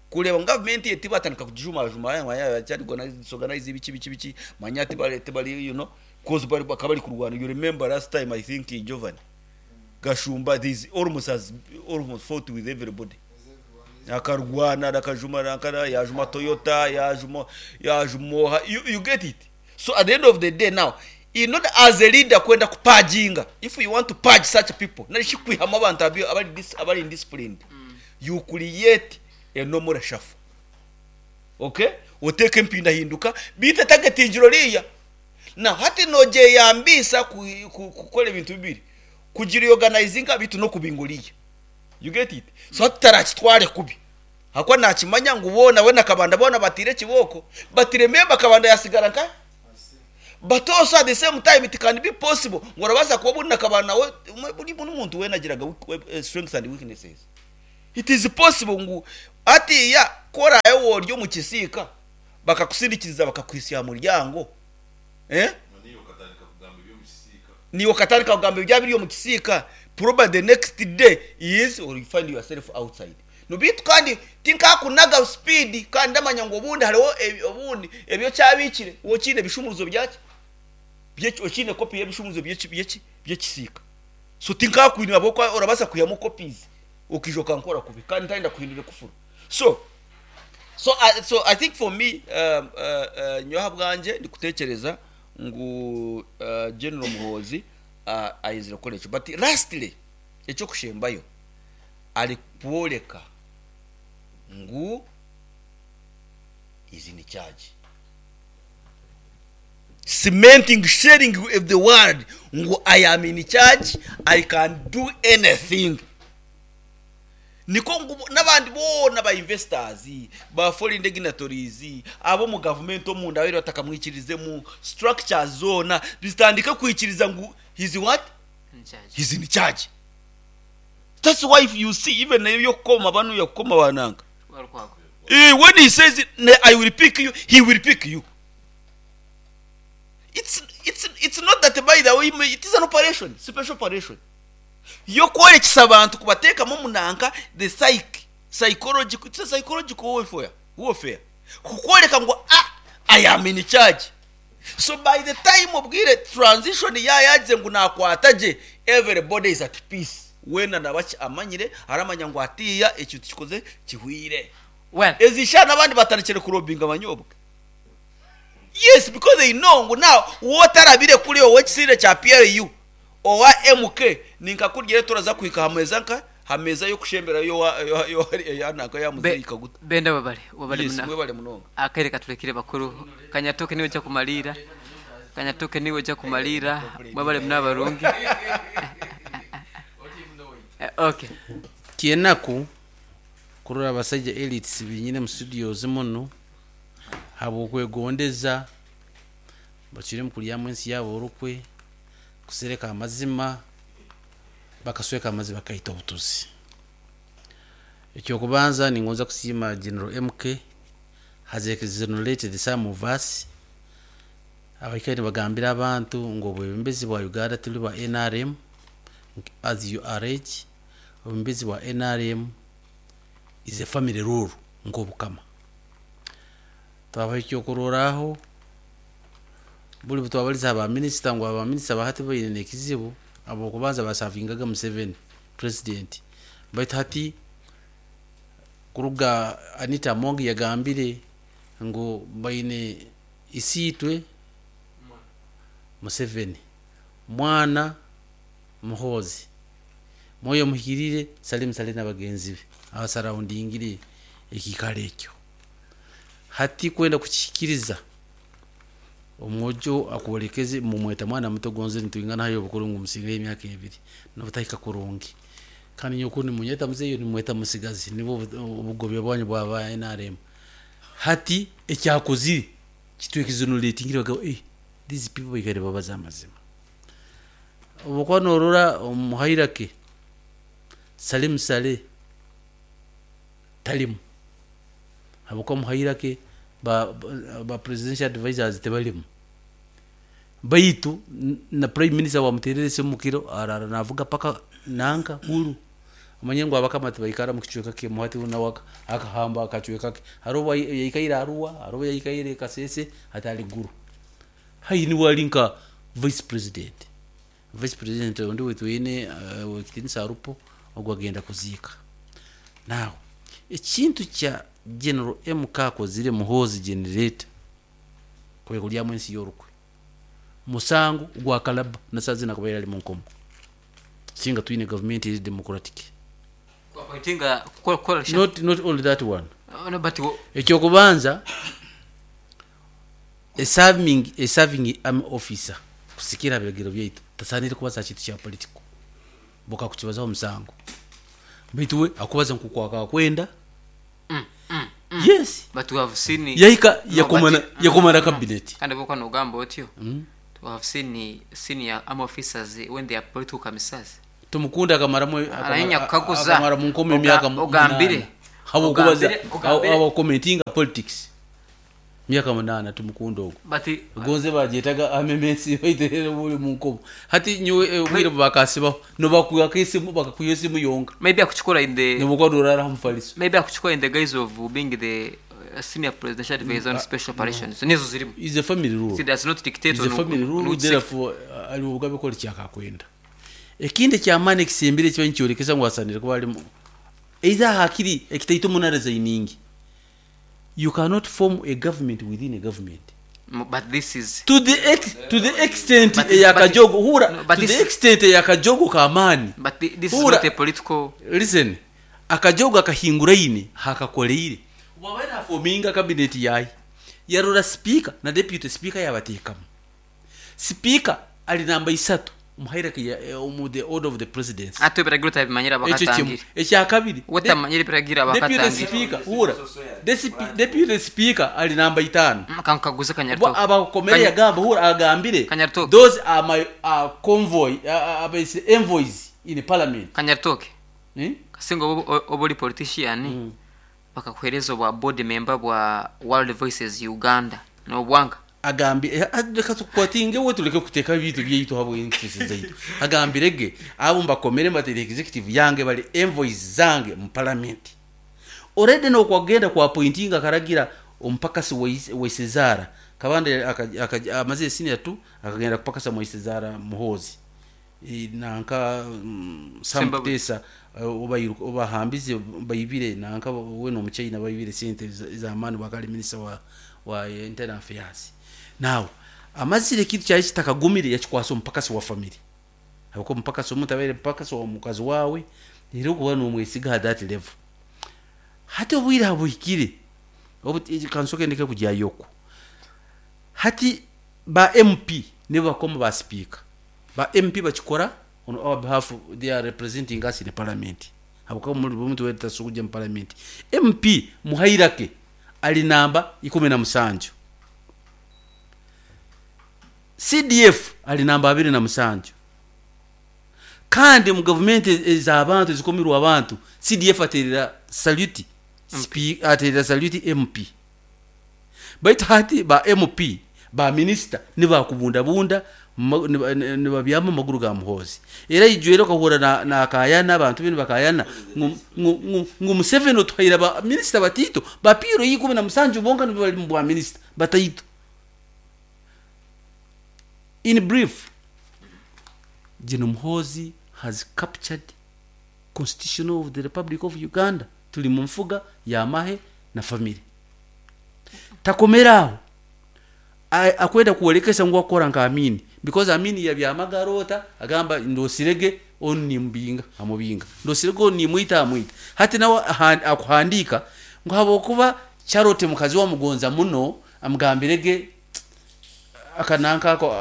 kureba government yeti batandika kujuma juma ya cyari organize ibiki biki biki manyati bari bari you know cause bari bakabari kurwana you remember last time I think in Jovan Gashumba this almost has almost fought with everybody akarwana akajuma akara yajuma Toyota yajuma yajumoha you get it so at the end of the day now in order as a leader kwenda kupajinga if you want to purge such people nari kwihama abantu abari indisciplined you create a normal shuffle okay uteke mpinda hinduka bite targetingiro riya na hati noje yambisa kukora ibintu bibiri kugira organizing bitu no kubinguriya you get it so hatarakitware kubi hakwa nakimanya ngo ubona we nakabanda bona batire kiboko batire memba kabanda yasigara nka But also at the same time it can be possible ngu orabaasa kuba obundi nakaba nawe buri muntu weena agiraga strengths and weaknesses. It is possible ngu hatiiya ku oraabe ori omu kisiika bakakusindikiriza bakakuhitsya aha muryango, eh? Naiwe okatandika kugamba ebyaba biri omu kisiika, probably the next day is or you find yourself outside. No beitu kandi tinkakunaga speed kandi ndamanya ngu obundi hariho obundi ebi okyabiikire okiine ebishumuruzo byaki by'eki okiine copy y'ebishumuruzo by'eki by'eki by'ekisiika. So tinkakwine ahabw'okuba orabaasa kwihamu copies okaija okankora kubi kandi ntayenda kuhindura ekufuru. So so I so I think for me nyowe ahabwangye ndikutekyereza ngu General Muhoozi ayenzire kukora ekyo. But lastly eky'okushembayo arikworeka ngu is in charge. Cementing, sharing with the world ngu I am in charge, I can do anything. Nikwo ngu n'abandi boona ba investors, ba foreign dignitaries, ab'omu gavumenti omunda ababaire batakamwikirizemu, structures zoona zitandike kwikiriza ngu he's what? He's in charge. That's why if you see even eby'okukoma banuya kukoma ba nanka. Eh, when he says I will pick you, he will pick you. It's, it's, it's not that by the way, it is an operation, special operation. Y'okworekyesa abantu kubateekamu omunanka the psyche, psychological, it's a psychological warfare, warfare. Kukworeka ngu ah, I am in charge. So by the time obwire transition ya yagize ngu nakwata gye, everybody is at peace. Weena naba ki amanyire, aramanya ngu hatiiya ekintu kikoze kihweire.
Well.
Ezi shaaha n'abandi batandikire kurobinga abanyobwa. Yes, because they know ngu now wotarabire kuri ow'ekisinde kya PLU, owa MK, ninka kurya turaza kuhika aha meeza nka ha meeza y'okushemberayo y'owa y'owa nanka ya muzeeyi Kaguta.
Benda webale webale
Yes,
muna
mwebale munonga.
Akaire katurekire bakuru Kanyatoke niwe oja kumaliira Kanyatoke niwe oja kumaliira mwebale muna abarungi Okay.
Kyenaku kurora abasaija elites benyine mu studios munu habwokwegondeza bacwiremu kulyamu ensi yabo orukwe kusereka amazima bakasweka amazima bakaita obutuzi. Ekyokubanza ningonza kusiima General MK has exonerated some of us abaikaire nibagambira abantu ngu obwebembezi bwa Uganda tibuli bwa nrm as you allege, obwebembezi bwa nrm is a family rule nk'obukama. Twabaha ekyokurorraho, buli obutwabalize ha ba minisita ngu aba minisita ba hati baine n'ekizibu habwokubanza basavingaga Museveni president baitu hati kuruga Anita Among yagambire ngu baine isiitwe Museveni, mwana Muhoozi, Mwoyo Omuhikiriire, Salim Saleh n'abagenzi be abasaraundingire ekiikaro ekyo. Hati kwenda kukihikiriza, omwojo akwolekeze mumweta mwana muto gonze nitwingana haihi obukuru ngu musingeho emyaka ebiri nobutahika kurungi. Kandi nyowe kunu nimunyeta muzeeyi iwe nimweta musigazi nibwo obugobya bwanyu bwa ba nrm. Hati ekyakozire kitwexoneratingire bagamba eh these people baikaire nibabaza amazima. Obu okuba norora omu hierarchy Salim Saleh tarimu ahabw'okuba omu hierarchy ba ba presidential advisors tibarimu. Baitu na prime minister wamuteerera esimu kiro araara naavuga paka nanka Gulu. Omanye ngu abakama tibaikara omu kicweka kimwe hati nawe akahamba akacweka ke. Hariho obu yaikaire Arua, hariho obu yaikaire Kasese, hati ari Gulu. Haihi niwe ari nka vice president. Vice president ondi ou twine ow'ekitiinisa Arupo ogu agenda kuziika. Now ekintu kya General MK akozire Muhoozi generator kwekuryamu ensi y'orukwe musango gwa Kalaba na saaha zinu akabaire ari munkomo singa twine gavumenti eri democratic. Not, not only that one. Ekyokubanza A serving, a serving army officer kusikira aha biragiro byaitu tasaaniire kubaza aha kintu kya political. Bakakukibazaho omusango. Baitu we akubaza nk'oku akaba akwenda. Yes.
But we have seen
Yahika
No,
yakoma
but-
yakoma na
no, no.
cabinet.
Kandi bwokuba nogamba otyo, we have seen senior army officers when they are political commissars.
Tumukunda akamaramu
Aranya kukaguza.
akamara mu nkomo emyaka
Ogambire.
munaana. Habwokubaza
Ogambire.
abo commentinga politics. Myaka munaana Tumukunda ogwo.
But
Gonze bagyetaga amemesi baiterere buli mu nkomo. Hati nyowe obwire bubakasibaho nobakuyako esimu bakakwiha esimu yonka.
Maybe akuchukora in the
Nibukwa norara mufaliso.
Maybe akuchukora in the guise of being the senior presidential advisor on special operations. Nizo zirimu.
Is a family rule.
It does not dictate
Is a
on
family
on
rule,
which sector.
therefore ali obugabe kora kyakakwenda. Ekindi ekyamaani ekisembire ekiba nikyorekesa ngu asanire kuba arimu either hakiri ekitaito muno resigning. You cannot form a government within a government.
But this is
To the extent
But
eyakajogo hura,
no, but
to the
this-
extent eyakajogo kamaani.
But this is
Hura.
not a political.
Listen, akajogo akahinguraine hakakoreire wabaire afominga cabinet yaye yarora speaker na deputy speaker yabatekamu. Speaker ali namba isatu omu hierarchy ya, omu the order of the presidency.
Ate ebiragiro tabimanyire
Ekyo kimwe.
abakatangire.
Ekyakabiri,
Wetamanyire ebiragiro
deputy
abakatangire.
speaker hura, deputy speaker ali namba itaano.
Kankaguze
Bo
Kanyaritoke.
abakomere yagamba hura agambire
Kanyaritoke.
those are my convoy abaise envoys in parliament.
Kanyaritoke.
Eh?
Kasinga oba oli politician bakakuhereza obwa board member bwa World Voices Uganda nobwanga.
Agambire reka tukwatinge we tureke kuteeka ebintu byaitu habwe interest zaitu. Agambire ge abo mbakomere mbatere executive yange bali envoys zange mu parliament. Already nokwagenda kwa appointinga karagira omupakasi Waisezara Kabande amaze senior 2 akagenda kupakasa Waisezara Muhoozi. Nanka Sam
Zimbabwe.
Kutesa, obahambize bayibire nanka we n'omuchina bayibire sente z'amaani bakali minister wa internal affairs. Now amazire ekintu kyali kitakagumire yakikwasa omupakasi wa family. Habwokuba omupakasi omuntu abaire mupakasi wa mukazi wawe era okuba nomwesiga at that level. Hati obwire habuhikire kansoke ndeke kugyayo. Hati ba MP nibo bakoma ba speaker. Ba MP bakikora on our behalf, they are representing us in the parliament. Habwokuba muri omuntu weta sukujja mu parliament. MP muhairake ali namba 17. CDF ali namba 27. Kandi mu government ez'abantu ezikomirwa abantu, CDF aterera salute aterera salute MP. Baitu hati ba MP ba minister nibakubundabunda nibabyama amaguru ga Muhoozi. Era ijwere okahura na Kayana, abantu binu bakayana ngu Museveni otuhaire ba minister batito ba piro ikumi na musanju bonka nibo bali mu bwa minister bataito. In brief, General Muhoozi has captured Constitution of the Republic of Uganda. Tuli mu nfuga ya mahe na family. Takomeraho akwenda kuolekesa ngu akora nka Amini, because Amini yabyamagarota agamba ndosirege oni mbinga amubinga ndosirege oni mwita amwita. Hati nawe akuhandika ngu habokuba Charlotte mukazi wa mugonza muno amugambirege akananka ako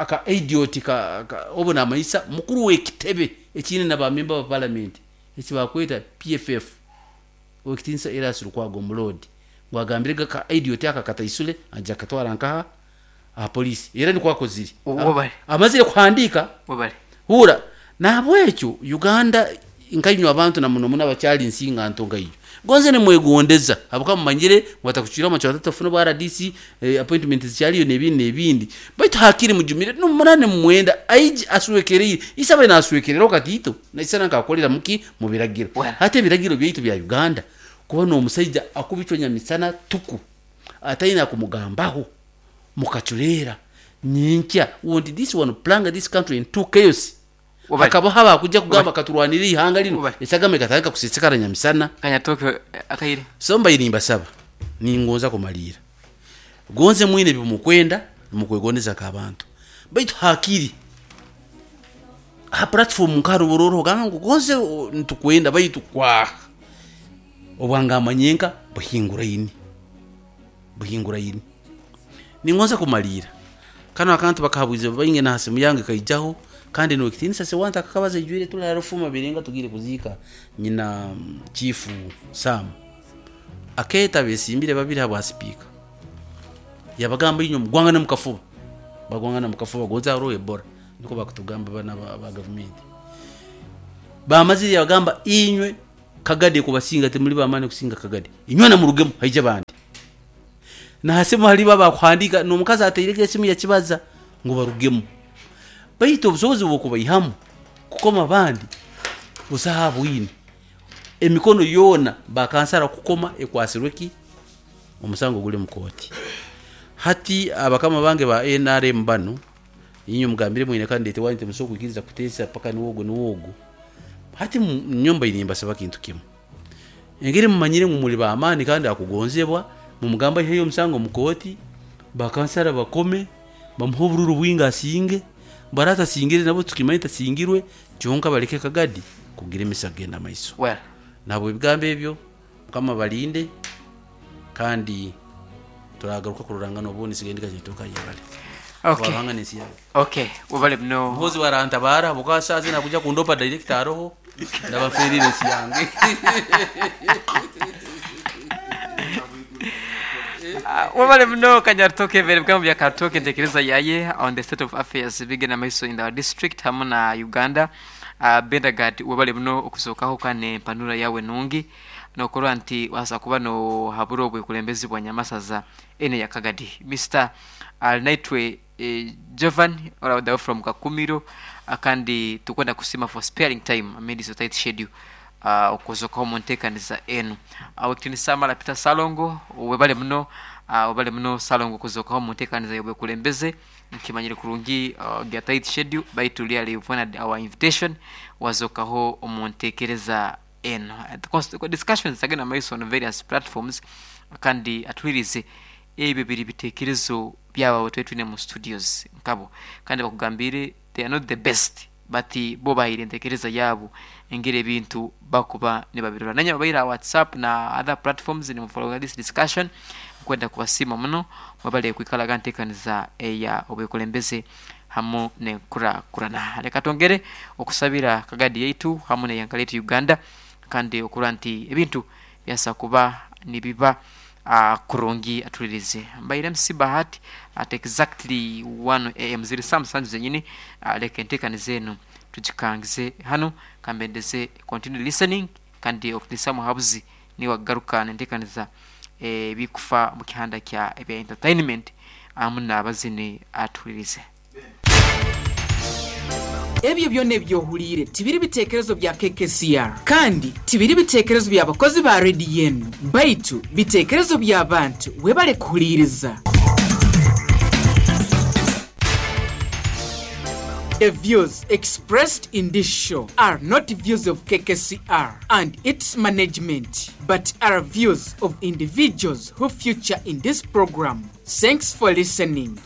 aka idiot ka obona amaisa mukuru w'ekitebe ekine na ba member ba parliament ekibakweta PFF wekitinsa Erias Lukwago Mulodi ngu agambirege ka idiot aka kataisule aja katwara nkaha aha polisi era nikwo akozire.
Wabale.
Amazire kuhandika.
Wabale.
Hura nabwekyo Uganda nkainywa abantu na muno muno abakyali nsinga nto ngaiyo gonze nimwegondeza abuka mumanyire watakuchira amacho atatu bwa RDC appointment zikyaliyo nebindi nebindi baitu hakiri mujumire no munane mwenda aiji aswekereye isabe naswekerera okatito naisana nkakolera muki mu biragiro.
Well.
Hata ebiragiro byaitu bya Uganda kuba no omusaija akubicwa misana tuku ataina kumugambaho mukachurera nyinkya want this one plunge this country into chaos.
Wabali.
Hakaba haba kujja kugamba katurwanire ihanga lino
Wabali.
esagame katandika kusisikara nyamisana.
Kanyaritoke akaire.
So mbaire mbasaba ningonza kumalira gonze mwine bimukwenda mukwegondeza kabantu baitu hakiri ha platform nkarubororo gamba ngu gonze ntukwenda baitu kwa obwangamanyenka buhinguraini buhinguraini ningonza kumalira kano akantu bakahabwize bainge na hasimu yange kaijaho kandi no kitinisa se wanta kakabaza ijwire tulala rufuma birenga tugire kuzika nyina chief Sam. Akeeta abeesimbire babiri aha bwa sipiika, yaabagamba inywe mugwangane omu kafuba. Bagwangana omu kafuba gonza hariho Ebola, nikwo barikutugamba banu aba gavumenti. Baamazire yaabagamba inywe Kagadi ekubasinga timuri b'amaani kusinga Kagadi, inywena murugemu haije abandi. N'aha simu haribo abakuhandiika, n'omukazi atairego esimu yakibaza ngu barugemu. Baitu obusobozi bw'okubaihamu kukoma abandi busaho abwine. Emikono yoona bakansara kukoma ekwasirwe ki? Omusango guri omu kooti. Hati abakama bange ba nrm banu, inywe mugambire mwine kandidate wanyu timusobola kwikiriza kuteesa paka niwe ogu niwe ogu. Hati nyowe mbaire nimbasaba kintu kimu. Engeri mumanyire ngu muri b'amaani kandi akugonzebwa, mumugambe aiheyo omusango omu kooti, bakansara bakome, bamuhe obururu bwingi asinge, bwaraaba atasingire nabwo tukimanye tasingirwe, kyonka baleke Kagadi kugira emisa kugenda maiso.
Well.
Nahabw'ebigambo ebyo, Mukama abarinde kandi turagaruka kurorangana obundi nsigaire ndi Kanyaitoka yebare.
Okay.
Ruhanga n'ensi yange.
Okay, webale muno.
Muhoozi bwarantabaara habwokuba saaha zinu akwija kundopa director aroho ndaba nferiire ensi yange.
Webale muno Kanyaritoke ebere bigambo bya Karitoke entekereza yaye on the state of affairs ebigenda maiso in our district hamu na Uganda. Bendagard webale muno okuzokaho kandi nempanura yawe nungi nokurora nti wasa kuba nohabura obwekulembezi bwa Nyamasaza enu eya Kagadi. Mister Arinaitwe Jovan all the way from Kakumiro kandi tukwenda kusiima for sparing time amid your tight schedule okuzokaho omu ntekaniza enu. Owekitinisa Amara Peter Ssalongo webale muno webale muno Ssalongo kuzokaho omu ntekaniza y'obwekulembeze nkimanyire kurungi your tight schedule baitu really you've honored our invitation wazokaho omu ntekereza enu. Discussions zagenda mumaiso on various platforms kandi atuhuririze Ebyo biri bitekerezo byabo abu twali twine mu studios nkabo kandi bakugambiire they are not the best but bo bahaire entekereza yaabo engeri ebintu bakuba nibabirora. Nanye ababaire aha WhatsApp na other platforms nimufollowinga this discussion nkwenda kubasiima muno mwebale kwikaraga ntekaniza eya obwekulembeze hamu nenkurakurana. Leka twongere okusabira Kagadi yaitu hamu neihanga lyaitu Uganda kandi okurora nti ebintu byasa kuba nibiba Kurungi atulirize. Mbaire MC Bahati at exactly 1 am ziri saaha musanju zenyini. Leka entekaniza enu tugikangize hanu kambendeze continue listening kandi okutinisa muhabuzi niwe akugaruka nentekaniza ebikufa mukihanda kya ebya entertainment ahamu nabazini atuhulirize.
Ebyo byona ebi ohuliire tibiri bitekerezo bya KKCR kandi tibiri bitekerezo bya bakozi ba rediyo enu, baitu bitekerezo by'abantu. Webale kuhuliiriza. The views expressed in this show are not views of KKCR and its management but are views of individuals who feature in this program. Thanks for listening.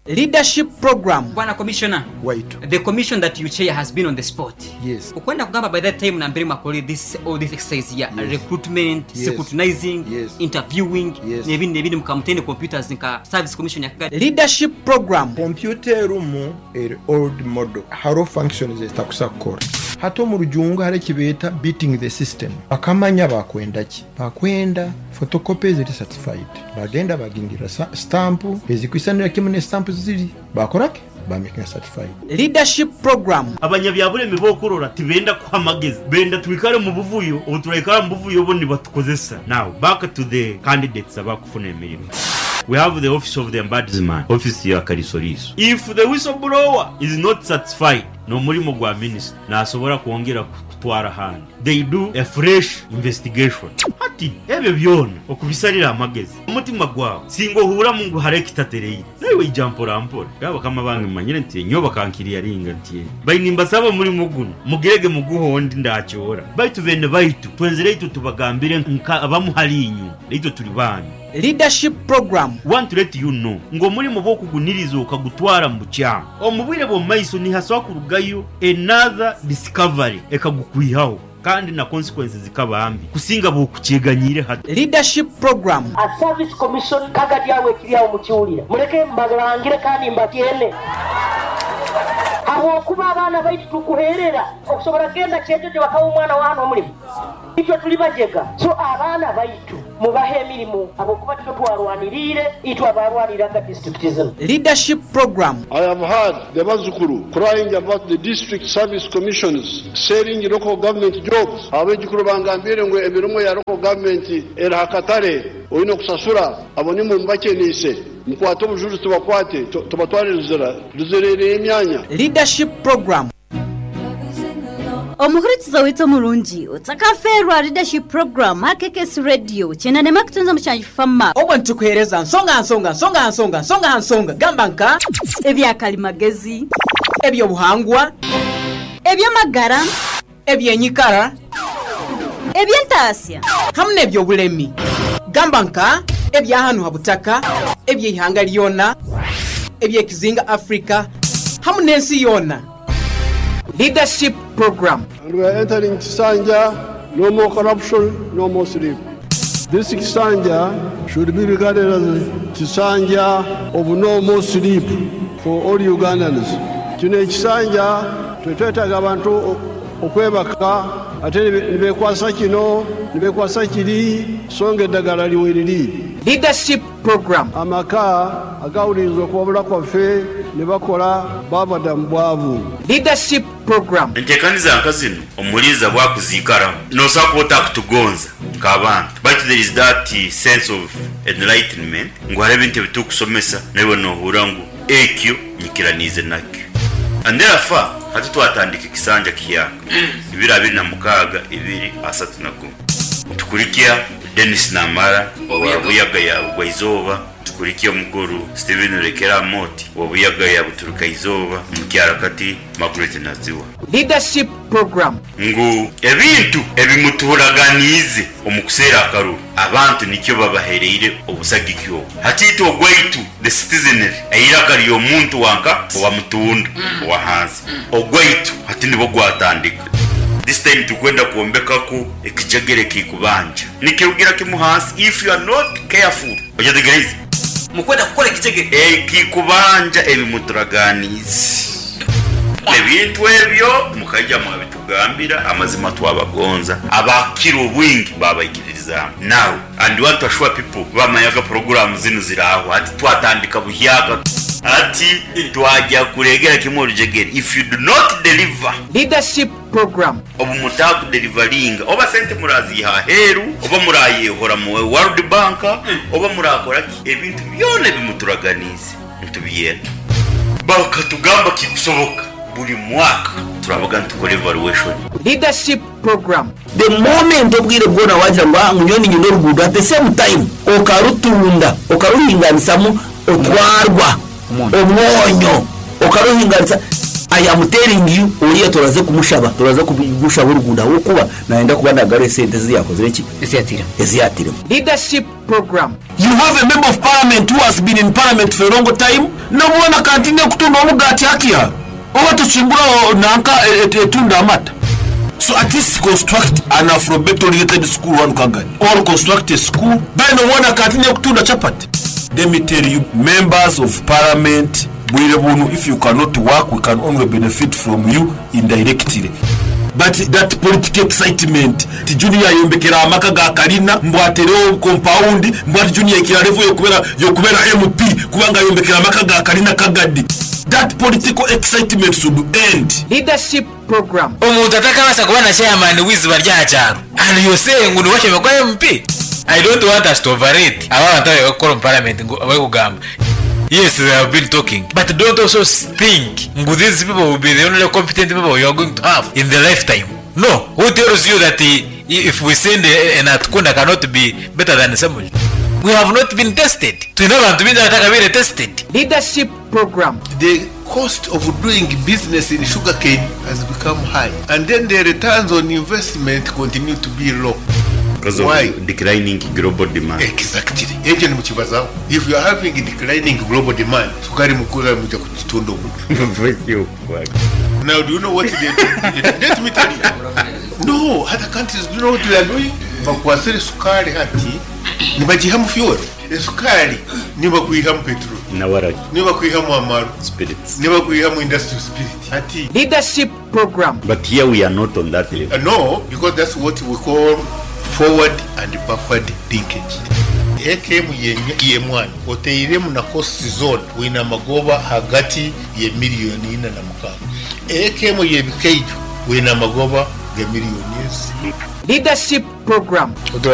Leadership Program.
Bwana Commissioner,
Waitu.
the commission that you chair has been on the spot.
Yes.
Okwenda kugamba by that time nambere mwakore this all this exercise ya
Yes.
recruitment,
Yes.
scrutinizing,
Yes.
interviewing
Yes.
n'ebindi n'ebindi mukamutene computers nka service commission ya Kigali.
Leadership Program.
Kompyuta erimu eri old model hariho functions ezitakusa kukora. Hati omu rujungu hariho eki beeta beating the system. Bakamanya bakwenda ki. Bakwenda photocopy eziri certified. Bagenda bagingirira stamp ezikwisanira kimwe ne stamp ziri. Bakora ki? Bamakinga certified.
Leadership Program.
Abanyabyabulemi b'okurora tibenda kuha magezi, benda twikare mu buvuyo, obu turaikara mu buvuyo bo nibatukozesa. Now back to the candidates abakufuna emirimo. We have the office of the ombudsman, office ya kalisoliiso. If the whistle blower is not satisfied n'omurimo gwa minisita, nasobora kwongera kutwara ahandi. They do a fresh investigation. Hati ebyo byona okubisarira amagezi, omutima gwawe singa ohuuramu ngu hariho ekitatereire, naiwe ija mpora mpora. Bakama bange mumanyire nti nyowe bakankiriyaringa nti bai nimbasaba omurimo gunu mugirege muguhe ondi ndakyoora. Baitu beene baitu twenzire itwe tubagambire nka abamu hali inywe, naitwe turi baanyu.
Leadership Program.
Want to let you know ngu omurimo bw'okuguniriza okagutwara mu bukyamu, omu bwire bw'omu maiso nihasobola kurugayo another discovery ekagukwihaho kandi na consequences zikaba mbi kusinga bw'okukyeganyiire hati.
Leadership Program.
A Service Commission kagadi agho ekiri agho mukiwulira. Muleke mbalangire kandi mbatyene. Habwokuba abaana baitu tukuherera okusobora kugenda Kyejojo bakawa omwana wa hanu omulimo. Itwe turi bajega, so abaana baitu mubahe emirimo ahabw'okuba titwe twarwaniriire, itwe abaarwaniriraga disiturikiti zinu.
Leadership Program.
I have heard the bazzukuru crying about the district service commissions selling local government jobs. Abaijukuru bangambire ngu emirimo ya local government eri aha katare oine okusasura abo nimwe mubakyeniise. Mukwate obujurizi tubakwate tubatware Luzira. Luzira eriyo emyanya.
Leadership Program.
Omuhurikiza waitu omurungi, otakafeerwa Leadership Program aha KKS Radio kyenda n'emwe kutunza mushanju Fama.
Obwo nitukuheereza nsonga aha nsonga, nsonga aha nsonga, nsonga aha nsonga, gamba nka.
Ebya karimagezi.
Eby'obuhangwa.
Eby'amagara.
Eby'enyikara.
Eby'entaasya.
Hamu n'eby'obulemi, gamba nka, ebya hanu ha butaka, eby'eihanga lyona, eby'ekizinga Africa, hamu n'ensi yoona. Leadership Program.
And we are entering Kisanja, no more corruption, no more sleep. This Kisanja should be regarded as Kisanja of no more sleep for all Ugandans. Kino ekisanja tetwetaaga abantu okwebaka ate nibekwasa kino nibekwasa kiri so nga eddagala liweriri.
Leadership Program.
Amaka agawuliriza okuwabula kwaffe nebakola baava dda mu bwavu.
Leadership Program.
Entekaniza nka zinu omuhuliriza bwakuziikaraho nosobola kuba otakutugonza nk'abantu baitu there is that sense of enlightenment ngu hariho ebintu ebitukusomesa naiwe nohurra ngu ekyo nyikiraniize nakyo. And therefore hati twatandika ekisanja kihyaka ibiri abiri na mukaaga ibiri asatu na gumu nitukurikya Denis Namara owa Buyaga ya Bugwa-izooba, Tukurikya omukuru Stephen Rekera Amooti owa Buyaga ya Buturuka-izooba, Omukyara-kati Margaret Naziwa.
Leadership Program.
Ngu ebintu ebimutuuraganiize omu kuseera akaruru, abantu nikyo babahereire obusagiki obu. Hati itwe ogwaitu, the citizenry, eiraka ry'omuntu wanka owa mutunda owa hansi, ogwaitu hati nibwo gwatandika. This time turikwenda kwombekaku ekijegere ekikubanja. Nikirugira kimu hansi if you are not careful. Okyetegereize?
Mukwenda kukora ekijegere.
Ekikubanja ebi muturaganiize. Ebintu ebyo mukaija mwabitugambira, amazima twabagonza, abakira obwingi babaikiririzaamu. Now and want to assure people bamanyaga puroguraamu zinu ziraaho hati twatandika buhyaka. Hati twagya kuregera kimwe orujegere if you do not deliver.
Leadership Program.
Obu mutaakudelivaringa oba sente muraaziiha aheeru oba muraayehora mu World Bank oba muraakora ki, ebintu byona ebi muturaganiize nitubyenda. Bakatugamba kikusoboka buri mwaka turabaga nitukora evaluation.
Leadership Program.
The moment obwire bwona wagira ngu ah ngu nyowe niinyenda oruguudo at the same time okarutunda okaruhinganisamu otwarwa omwonyo okaruhinganisa I am telling you oriya turaze kumushaba turaza kumushaba oruguudo ahabw'okuba nayenda kuba nagarura esente ezi yakozire ki? Ezi yatiremu.
Leadership Program.
You have a member of parliament who has been in parliament for a long time nobwona continue kutunda omugaati hakia oba tokimbura nanka etunda amata so at least construct an alphabet oriented school wanu Kagadi or construct a school then obwona continue kutunda chapati. Let me tell you members of parliament bwire bunu if you cannot work we can only benefit from you indirectly but that political excitement nti Junior ayombekere amaka ga kalina mbu aterewo compound mbu ati Junior aikire level yokubera MP kubanga ayombekere amaka ga kalina Kagadi that political excitement should end.
Leadership Program.
Omuntu atakabaasa kuba na chairman w'eiziba ry'aha kyaro and you're saying ngu niwe ashemereire kuba MP? I don't want us to overrate aba abantu abarikuba kukora omu parliament ngu abarikugamba yes they have been talking but don't also think ngu these people will be the only competent people you are going to have in the lifetime no who tells you that if we send a Natukunda cannot be better than Ssemujju we have not been tested twine abantu baingi abatakabaire tested.
Leadership Program.
The cost of doing business in sugarcane has become high and then the returns on investment continue to be low.
Because of
Why?
declining global demand.
Exactly. Ekyo nimukibazaho. If you are having declining global demand, sukari mukura muja kugitunda omu. Now do you know what they do? Let me tell you. No, other countries do you know what they are doing? Bakwasire sukari hati nibagiha mu fuel. Esukari nibakwihamu petrol,
Na waragi.
nibakwihamu amaarwa,
Spirits.
nibakwihamu industrial spirit. Hati.
Leadership program.
But here we are not on that level.
No, because that's what we call forward and backward linkage. Eka emu y'emwani oteiremu na costs zoona oine amagoba hagati ye miriyoni ina na mukaaga. Eka emu y'ebikaijo oine amagoba ga miriyoni ezi.
Leadership program.
Otura